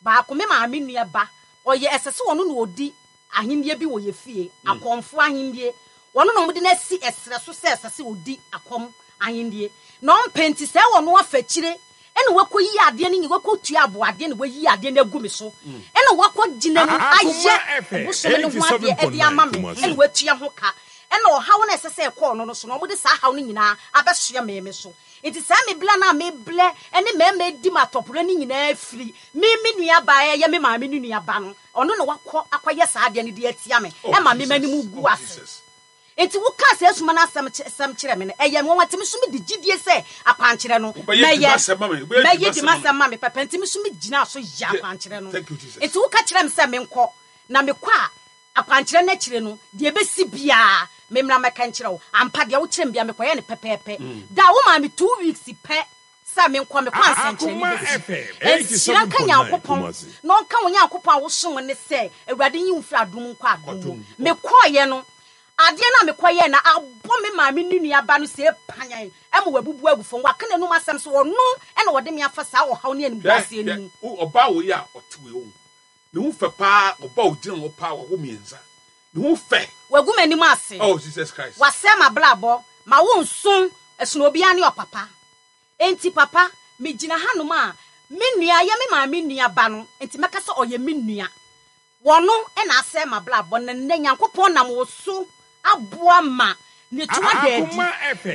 baako, me maame nua ba, ɔyɛ, ɛsɛ sɛ ɔno na ɔdi ahennie bi wɔ yɛ fie, akɔmfoɔ ahennie. Ɔno na wɔde no asi ɛserɛ so sɛ ɛsɛ sɛ ɔdi akɔm ahennie. Na ɔmpɛ nti sɛ ɔno afa akyire ɛna wakɔyi adeɛ no nyi, wakɔtua aboadeɛ na wayi adeɛ no agu me so, ɛna wakɔgyina mu ayɛ bosome no ho adeɛ ɛde ama me, ɛna watua ho ka, ɛna ɔhaw no a ɛsɛ sɛ ɛkɔ ɔno no so no, wɔde saa haw no nyinaa abɛsoɛ me me so. Nti saa me blɛ no a me blɛ ne mmarima redi me atɔporɛ no nyinaa firi me me nua ba a ɛyɛ me maame no nua ba no, ɔno na wakɔ akɔyɛ saa adeɛ no de atia me, ɛma me m'anim gu ase. Nti wokaa saa suma no asɛm sɛm kyerɛ me no, ɛyɛ me nwanwa, nti me nso mede gyidie sɛ akwankyerɛ no mɛyɛ, mɛyɛ di m'asɛm ma me pɛpɛ, nti me nso megyinaa so yɛɛ akwankyerɛ no. Nti woka kyerɛɛ me sɛ menkɔ, na mekɔ a, Akwankyerɛ no akyire no, deɛ ɛbɛsi biara, memmra mmɛka nkyerɛ wo. Ampa, deɛ wokyerɛɛ me biara, mekɔyɛɛ no pɛpɛɛpɛ. Da a womaa me 2 weeks pɛ sɛ menkɔ, mekɔ a nsɛnkyerɛnne bɛsi. Nhyira nka Nyankopɔn, na ɔnka wo Nyankopɔn a wosom no sɛ, Awurade nyi wo mfiri adom mu nkɔ adom mu. Mekɔeɛ no, adeɛ no a mekɔyɛɛ no abɔ me maame ne nua ba no see panyan ma wabubu agu fam. Waka n'anom asɛm sɛ ɔno na ɔde me afa saa ɔhaw ne animguaseɛ no mu. Hwɛ, ɔbaa wei a ɔte wei ho, Ne ho fɛ paa ɔba ogyina hɔ paa wawo miensa ne ho fɛ. Wagu m'anim ase. Oh Jesus Christ. Wasɛe m'abrabɔ. Ma wo nso ɛsono obiara ne ɔpapa. Enti papa me gyina hanom a me nua yɛ me maame nua ba no nti mɛka sɛ ɔyɛ me nua. Wɔno na asɛe m'abrabɔ na nnɛ Nyankopɔn nam wo so aboa ma ne to ada adi.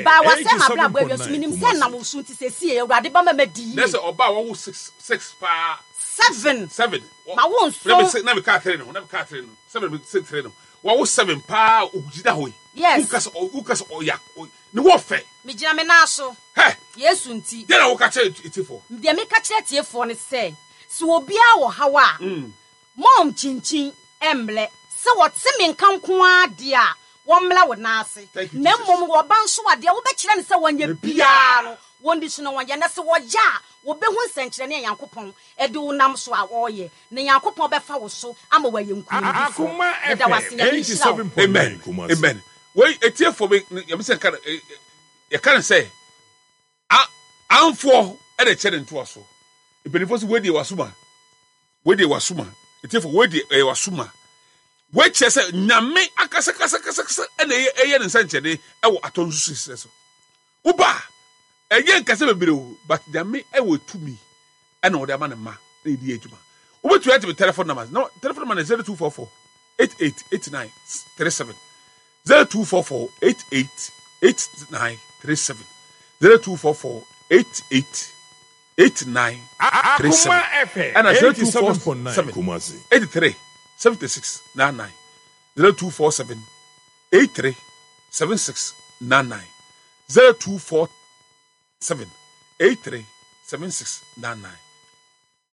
Baa wasɛe m'abrabɔ awie nso menim sɛ ɛnam wo so nti seesei Awurade bɛma madi yie. Nɛsɛ ɔbaa wawo six paa. Seven. Seven. Ma wo nso. Na me kaa three no na me kaa three no seven me six three no wawo seven paa ogyina hɔ yi. Yes. Wokasa wokasa ɔya ne wɔ fɛ. Megyina me nan so. Hɛ. Yesu nti. Deɛ na woka kyerɛ atiefoɔ. Deɛ meka kyerɛ atiefoɔ ne sɛ, sɛ obiara wɔ haw a. Mom kyinkyin mmrɛ. Sɛ wɔte me nka nko ara deɛ a, wɔmmrɛ wo nan ase. Na mmom wɔba nso a, deɛ wobɛkyerɛ no sɛ wɔnyɛ biara no, wɔnni so na wɔnyɛ. Na sɛ wɔyɛ a, wɔbɛhu nsɛnkyerɛnne a Nyankopɔn de wo nam so a ɔreyɛ, na Nyankopɔn bɛfa wo so ama wɔayɛ nkonimdifoɔ. Meda wo ase. Nyame nhyira wo. Amen amen wei etiefoɔ me nyame sɛ nka yɛka no sɛ A Amfoɔ na ɛkyɛ ne ntoasoɔ. Mpanimfoɔ sɛ wei deɛ wasoma. Wei deɛ wasoma. Etiefo wei deɛ ɛyɛ wasoma. Wei kyerɛ sɛ nyame akasakasakasakasa ɛna ɛyɛ ɛyɛ ne nsɛnkyerɛnne ɛwɔ atɔ nso sisɛ so. Woba a ɛnyɛ nkasa bebree o but nyame ɛwɔ tumi ɛna ɔde ama ne mma na yɛde yɛ adwuma. Wobɛtumi ate me telephone number no telephone number no 0244 88 89 37. 0244 88 89 37 0244 88 89 37 ɛna 0247 83 76 99 0247 83 76 99 0247 83 76 99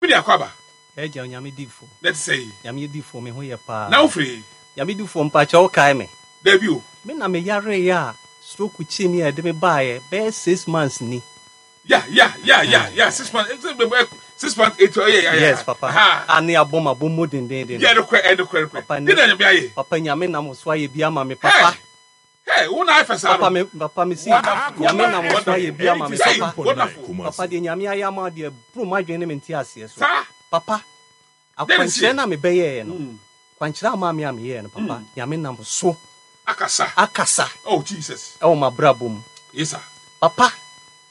Me de akɔ aba. Agya Onyame difoɔ. Na ɛte sɛn? Nyame difoɔ me ho yɛ paa. Na wo firi he? Nyame difoɔ mpakyɛ wo kae me? Daabi o. Me na me yareeɛ a stroke kyee me a ɛde me baeɛ bɛyɛ 6 months ni. Ya ya ya ya ya 6 months. 6.8 oh, yeah, yeah, yeah. Yes, papa. Ha. A ne abɔ ma bɔ mu dendenden. Yeah, no kɔ, no kɔ, no kɔ. Papa ne na nyame ayɛ. Papa nyame nam so ayɛ bi ama me papa. Hey, wo na ayɛ fɛ saa no. Papa me papa me si nyame nam so ayɛ bi ama me papa. Wonderful. Papa deɛ nyame ayɛ ama deɛ bro m'adwene ne me nte aseɛ so. Saa. Papa akwankyerɛ na mebɛyɛɛ no. Kwankyerɛ ama me a meyɛɛ no papa. Nyame nam so akasa. Akasa. Oh Jesus. Ɛwɔ m'abrabɔ mu. Yes sir. Papa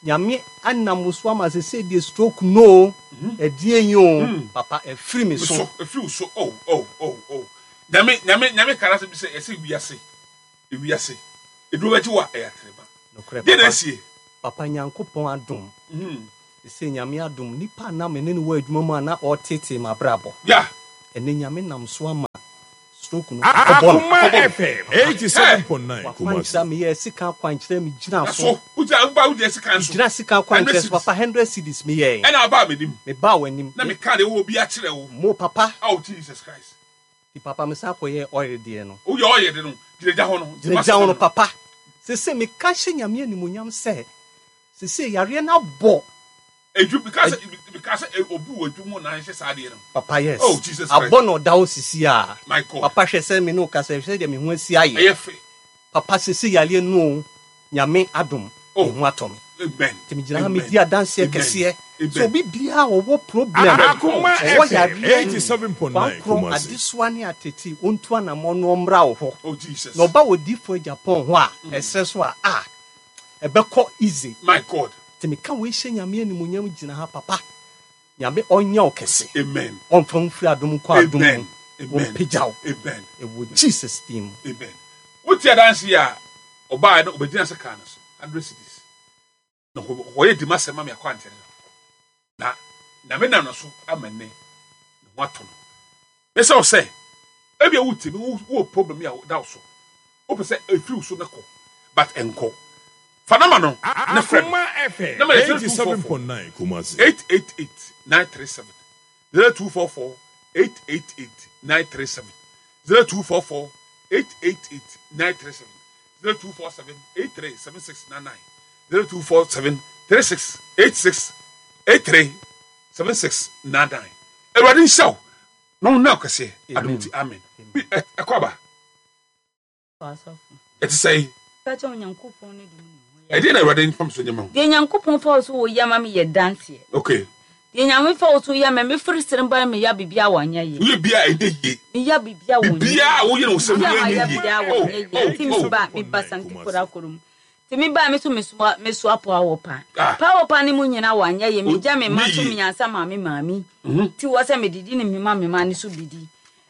nyame anam so ama sɛ sɛ deɛ stroke no ɛdeɛ yi o papa ɛfiri me so. Ɛfiri wo so. Oh oh oh oh. Nyame nyame nyame kara sɛ bi sɛ ɛsɛ wiase. Ewiase eduro bɛgye wo a ɛyɛ atreba. Nokorɛ Deɛ na papa. asie. Papa Nyankopɔn adom. Sesei Nyame adom nipa a na me ne no wɔ adwuma mu a na ɔreteetee m'abrabɔ. Yeah. Ɛnɛ Nyame nam so ama stroke no akɔbɔ no. Akoma FM Papa, 87.9 w'akwankyerɛ a Kumasi. meyɛɛ sika akwankyerɛ me gyina Na so. so wogyina woba wogyina sika nso. Megyina sika 100 akwankyerɛ so cedis. papa 100 cedis meyɛɛ. Ɛna abaa m'anim. Mebaa w'anim. Na meka deɛ wɔ bi akyerɛ wo. Mo papa. Oh Jesus Christ. Nti papa me san kɔ yɛɛ oil deɛ no. Wo yɛ oil de no gyina gya hɔ no. Gyina gya hɔ no papa. Sese me ka hyɛ nyame animonyam sɛ sese yareɛ no abɔ. Edwu me ka sɛ me ka sɛ obi wɔ edwu mu na ahyɛ saa adeɛ no. Papa yes. Oh Jesus Christ. Abɔ na ɔda hɔ sisi a. My God. Papa hwɛ sɛ me ne wo kasa hwɛ sɛ deɛ me ho asi ayɛ. Ɛyɛ fɛ. Papa sese yareɛ no o Nyame adom Oh. me ho atɔ me. Amen. Nti me gyina ha me di adanseɛ Amen. kɛseɛ Amen. sɛ obi biara ɔwɔ problem Akoma ɔwɔ FM yareɛ 87.9 kwankorɔ Kumasi. adesoa ne atete ɔntu anamɔ no ɔmmra wo hɔ Oh Jesus. na ɔba wɔ difoɔ Japan hɔ a ɛsrɛ so a a ɛbɛkɔ easy. My God. Nti meka wei hyɛ Nyame animuonyam gyina ha papa Nyame ɔnyɛ wo kɛse Amen. ɔmfa wo mfiri adom nkɔ adom mu Amen. Amen. ɔmpagya wo Amen. ɛwɔ Jesus din mu. Amen. Wote adanse yi a ɔbaa no ɔbɛgyina sɛ kaa no so 100 cedis na ɔyɛ dima sɛ ma me akwankyerɛ no na Nyame nam no so ama nnɛ ne ho atɔ no. Mesɛ wo sɛ ebia wote me wowɔ problem a da wo so wopɛ sɛ ɛfiri wo so na kɔ but ɛnkɔ fa nama no na frɛ no Akoma FM nama yɛ 0244 87.9 Kumasi. 888 937 0244 888 937 0244 888 937 0247 837699 0247 36 86 83 7699 Awurade nhyira wo na ɔnna wo kɛseɛ adom nti amen Bi- ɛ- ɛkɔ aba ɛte sɛ yi ɛdeɛ na Awurade mfam so nyɛ ma wo Deɛ Nyankopɔn fa wo so wo yɛ ma me yɛ danseɛ. okay Deɛ Nyame fa wo so yɛ ma me firi sere ba me ya bibia wɔnyɛ yie. woyɛ bia ɛnyɛ yie Me ya bibia wɔnyɛ bibia a woyɛ no wo sɛ Bibia woyɛ ma nyɛ ya yie bibia oh wɔnyɛ yie. oh Nti me oh ba me ba sante kora koro mu. Nti me ba me so me soa me soa po awɔ pa. Ah. Pa awɔ pa ne mu nyina wɔanyɛ yie. Me gya me ma Nyɛ so yie. me nyansa ma me maame. Nti wɔ sɛ me didi ne me ma me ma ne so bidi.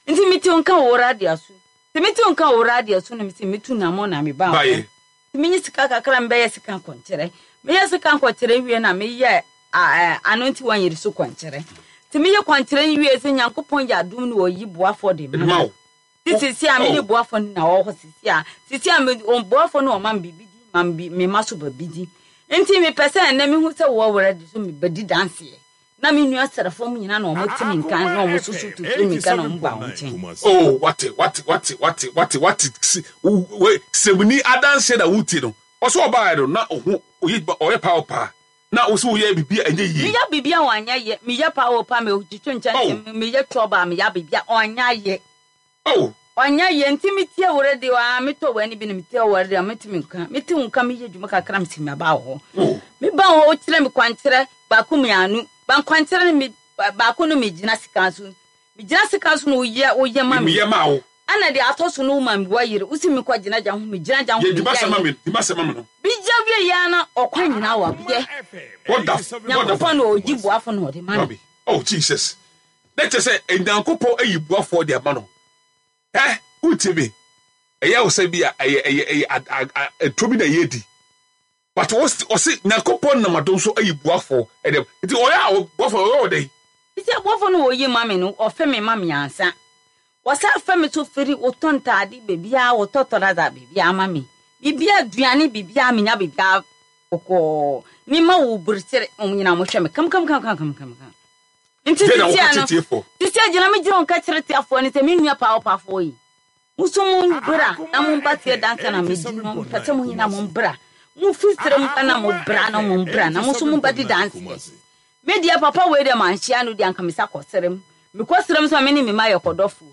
Nti me te nka wɔ radio so. Nti me te nka wɔ radio so na me se me tu na mo na me ba. Baeɛ. Nti menye sika kakra mbɛyɛ sika nkɔnkyerɛ. Meyɛ sika nkɔnkyerɛ wie na meyɛ ano nti wɔnyere so kɔnkyerɛ. Nti meyɛ kɔnkyerɛ wie sɛ Nyankopɔn yɛ adom ne ɔyi boafoɔ de ma ma wo Nti sisi a mene Oh. boafoɔ no na ɔwɔ hɔ sisi a sisi a me boafoɔ no ɔma me biribi di ma me me ma so ba bi di. Nti mepɛ sɛ ɛnnɛ mehu sɛ wɔ wɔ de so mebɛdi danseɛ. Na me nua srɛfoɔ mu nyinaa na ɔmo te me nka na ɔmo soso tutu me nka na ɔmo ba wɔn nkyɛn. Kumasi. Oh, wate wate wate wate wate wate si we sɛmuni adanseɛ na wotie no ɔsɛ ɔbaa no na ɔho ɔyɛ ɔyɛ paa paa na wo sɛ woyɛ biribi a ɛnyɛ yie Meyɛ biribi a wɔanyɛ yɛ meyɛ paa wɔ pa metwitwi nkyɛnkyɛn Oh. meyɛ trɔba a meyɛ biribi a ɔnyɛ yɛ. oh ɔnyɛ yɛ nti metie wo radio a metɔ w'ani bi na metie wo radio a metumi nka mete wo nka meyɛ adwuma kakra mesi maba wɔ hɔ oh meba wɔ hɔ wokyerɛ me kwankyerɛ baako mmienu ba nkwankyerɛ no me baako no megyina sika so megyina sika so na woyɛ woyɛ ma me meyɛ maa wo ana deɛ atɔ so no woma me wɔyere wosi me kɔ gyina gya ho megyina gya ho yɛ dima sɛ ma meyɛ me dima sɛ ma me no bigya wie yɛ na ɔkwan nyinaa wɔ yɛ wonderful Nyankopɔn wonderful na ɔgye boafo na ɔde ma no Robbie. Oh Jesus. Na kyerɛ sɛ Nyankopɔn ayi boafoɔ de ama no. Ɛ wotie me. Ɛyɛ wo sɛ bi a ɛyɛ ɛyɛ ɛyɛ ɛtɔ bi na ɛyɛ di. But ɔse Nyankopɔn nam adom so ayi boafoɔ ɛdɛm. Nti ɔyɛ a boafoɔ ɔyɛ ɔdɛn? Nti aboafo no wɔyi ma me no ɔfɛ me ma me ansa. Wɔsa fɛ me so firi wotɔ ntaade baabiara wotɔ tɔrada baabiara ma me. Biribiara aduane biribiara menya biribiara kɔkɔɔ. Me ma wo burukyere wɔn nyinaa wɔhwɛ me kam kam kam kam kam kam. Nti Deɛ na sisi woka ano kyerɛ tiefoɔ. sisi agyina me gyina wɔn ka kyerɛ tiafoɔ no sɛ me nua paa ɔpaafoɔ yi. Muso mo bra na mo ba tie dansa na me di no mpɛ sɛ mo nyinaa mo bra. Mo fi sere mu ka na mo bra na mo bra na mo so mo ba di danseɛ. Me deɛ papa wei deɛ manhyia no deɛ anka mesa kɔ serem. Mekɔ serem nso a me ne me mma yɛ kɔdɔfoɔ.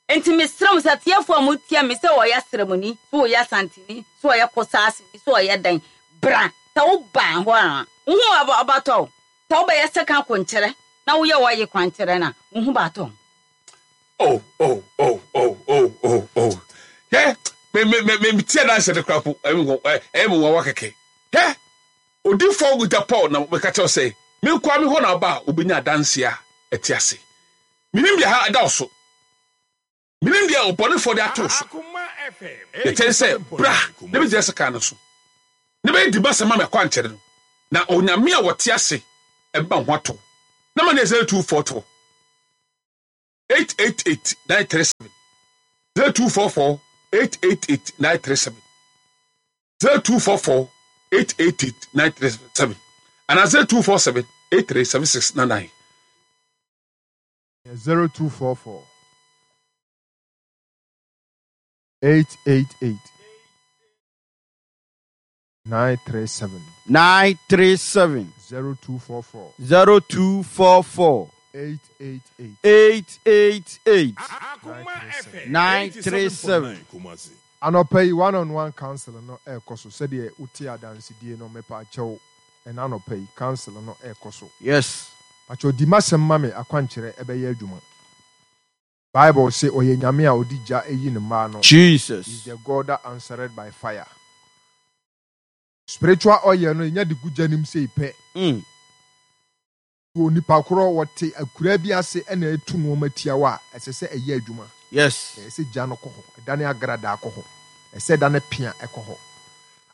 Enti mesrɛ mo sɛ atiefoɔ a motie me sɛ ɔyɛ Seremni, sɛ ɔyɛ Asanteni, sɛ ɔyɛ Kosaaseni, sɛ ɔyɛ dɛn, bra. Sɛ woba hɔ a, wo ho bɛtɔ wo. Sɛ wobɛyɛ sekan kwankyerɛ na woyɛ ɔye kwankyerɛ no a, wo ho bɛatɔ wo. Oh, oh, oh, oh, oh, oh, oh. Hwɛ, me, me, me, me, tie adanse no koraa po, ɛyɛ me nwanwa kɛkɛ. Hwɛ, odifoɔ Guta Paul na meka kyerɛ sɛ, me nkoa me hɔ na ɔba a, obenya adanse a ɛte ase. Menim deɛ ha da wo so. Menim deɛ ɔbɔnefoɔ de ato wo so. Deɛ ɛkyɛ ne sɛ, bra na bɛgyina sekan no so, na bɛyɛ di m'asɛm ma me akwankyerɛ no, na Onyame a ɔte ase bɛma wo ho atɔ wo. Na ma no yɛ 0244 888 937, 0244 888 937, 0244 888 937, anaa 0247 837699. 0244 888 937. 937. 0244. 0244. 888. 888. 937. 937. Anɔpa yi one on one council no ɛrekɔ so sɛdeɛ wote adansedie no mepaakyɛw ɛna anɔpa yi council no ɛrekɔ so. Yes. Pakyɛw di m'asɛm ma me akwankyerɛ ɛbɛyɛ adwuma. Bible se ɔyɛ Nyame a ɔde gya yi ne mma ano. Jesus. He is the God that answered by fire. Spiritual oil no yɛnya de gu gya nim sei pɛ. Onipa korɔ wɔte akuraa bi ase na ɛtu nnoɔma tia wo a, ɛsɛ sɛ ɛyɛ adwuma. Yes. Ɛsɛ sɛ gya no kɔ hɔ, ɛdane agradaa kɔ hɔ, ɛsɛ sɛ ɛdane pea kɔ hɔ.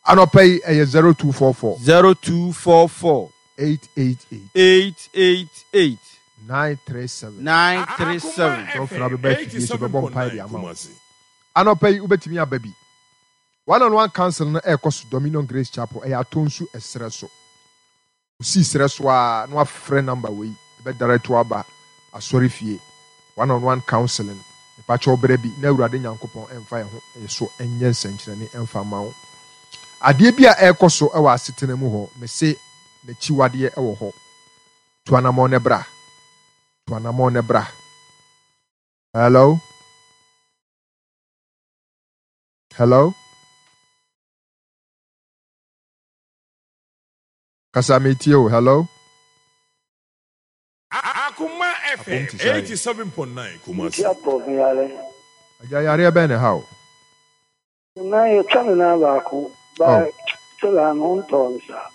Anɔpa yi ɛyɛ 0244. 0244. 888. 888. 937. 937. Sɛ wofrɛ a wobɛba afidie so bɛbɔ mpaeɛ de ama wo. Anɔpa yi wobɛtumi aba bi. One on One Council no ɛrekɔ so Dominion Grace Chapel, ɛyɛ Atonsu ɛserɛ so. Osii serɛ so ara na wafrɛ number wei, ɛbɛ direct wo aba asɔre fie, one on one counseling, mepakyɛw brɛ bi na Awurade Nyankopɔn ɛmfa yɛn ho yɛ so nyɛ nsɛnkyerɛnne ɛmfa mma wo. Adeɛ bi a ɛrekɔ so wɔ asetena mu hɔ, mese n'akyiwadeɛ wɔ hɔ. Tu anamɔn na bra. Tu anamɔn na bra. Hello? Hello? Kasa metie o, hello? Akoma Apom FM te sɛn? 87.9 Kumasi. Nti apɔ me yare. Agya yareɛ bɛn na ɛha wo? Me nan yɛtwa me nan baako Oh. but still a me ho ntɔɔ me saa.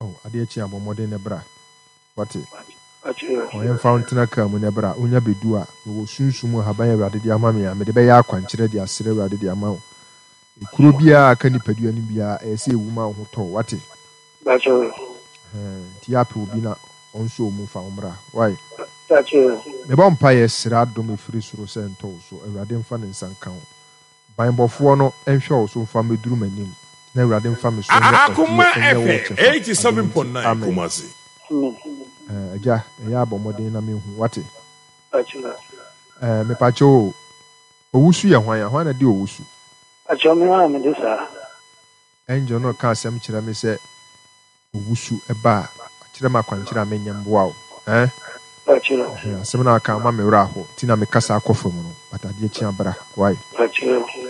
Oh, adeɛ kye a bɔ mmɔden na bra. Wate? Pakyɛ. Ɔ, yɛmfa wo ntena kaa mu na bra. Wonya bɛdu a, mewɔ sunsum mu ahaban a Awurade de ama me a, mede bɛyɛ akwankyerɛ de asrɛ Awurade de ama wo. Ekuro biara a aka nipadua no biara, ɛyɛ sɛ ewu ma wo ho tɔ wo. Wate? Pakyɛ. Ɛhɛn, nti yɛ apɛ obi na ɔnsɔ wo mu mfa wo mmra. Wai? Pakyɛ. Mebɔ mpaeɛ srɛ adom ɛfiri soro sɛ ɛntɔ wo so. Awurade mfa ne nsa nka wo. Banbɔfoɔ no nhwɛ wo so mfa mmɛduru m'anim, na Awurade mfa me so nyɛ Akoma ɔgyeɛ nyɛ wo FM kyɛfa, adom nti. 87.9 Amen. Kumasi. Ɛɛ, Agya, ɛyɛ a bɔ mmɔden na menhu, wate? Ɛɛ, mepakyɛw o, Owusu yɛ hwan a? Hwan na ɛde owusu? Pakyɛw me ara na mede saa. Angel no reka asɛm kyerɛ me sɛ owusu ba a, wakyerɛ me akwankyerɛ a menyɛ mboa wo eh? Pakyɛw. Ɛhɛn, asɛm no a waka ama me werɛ aho nti na me kasa akɔ fam no, but adeɛ kye a bra, wai? Pakyɛw.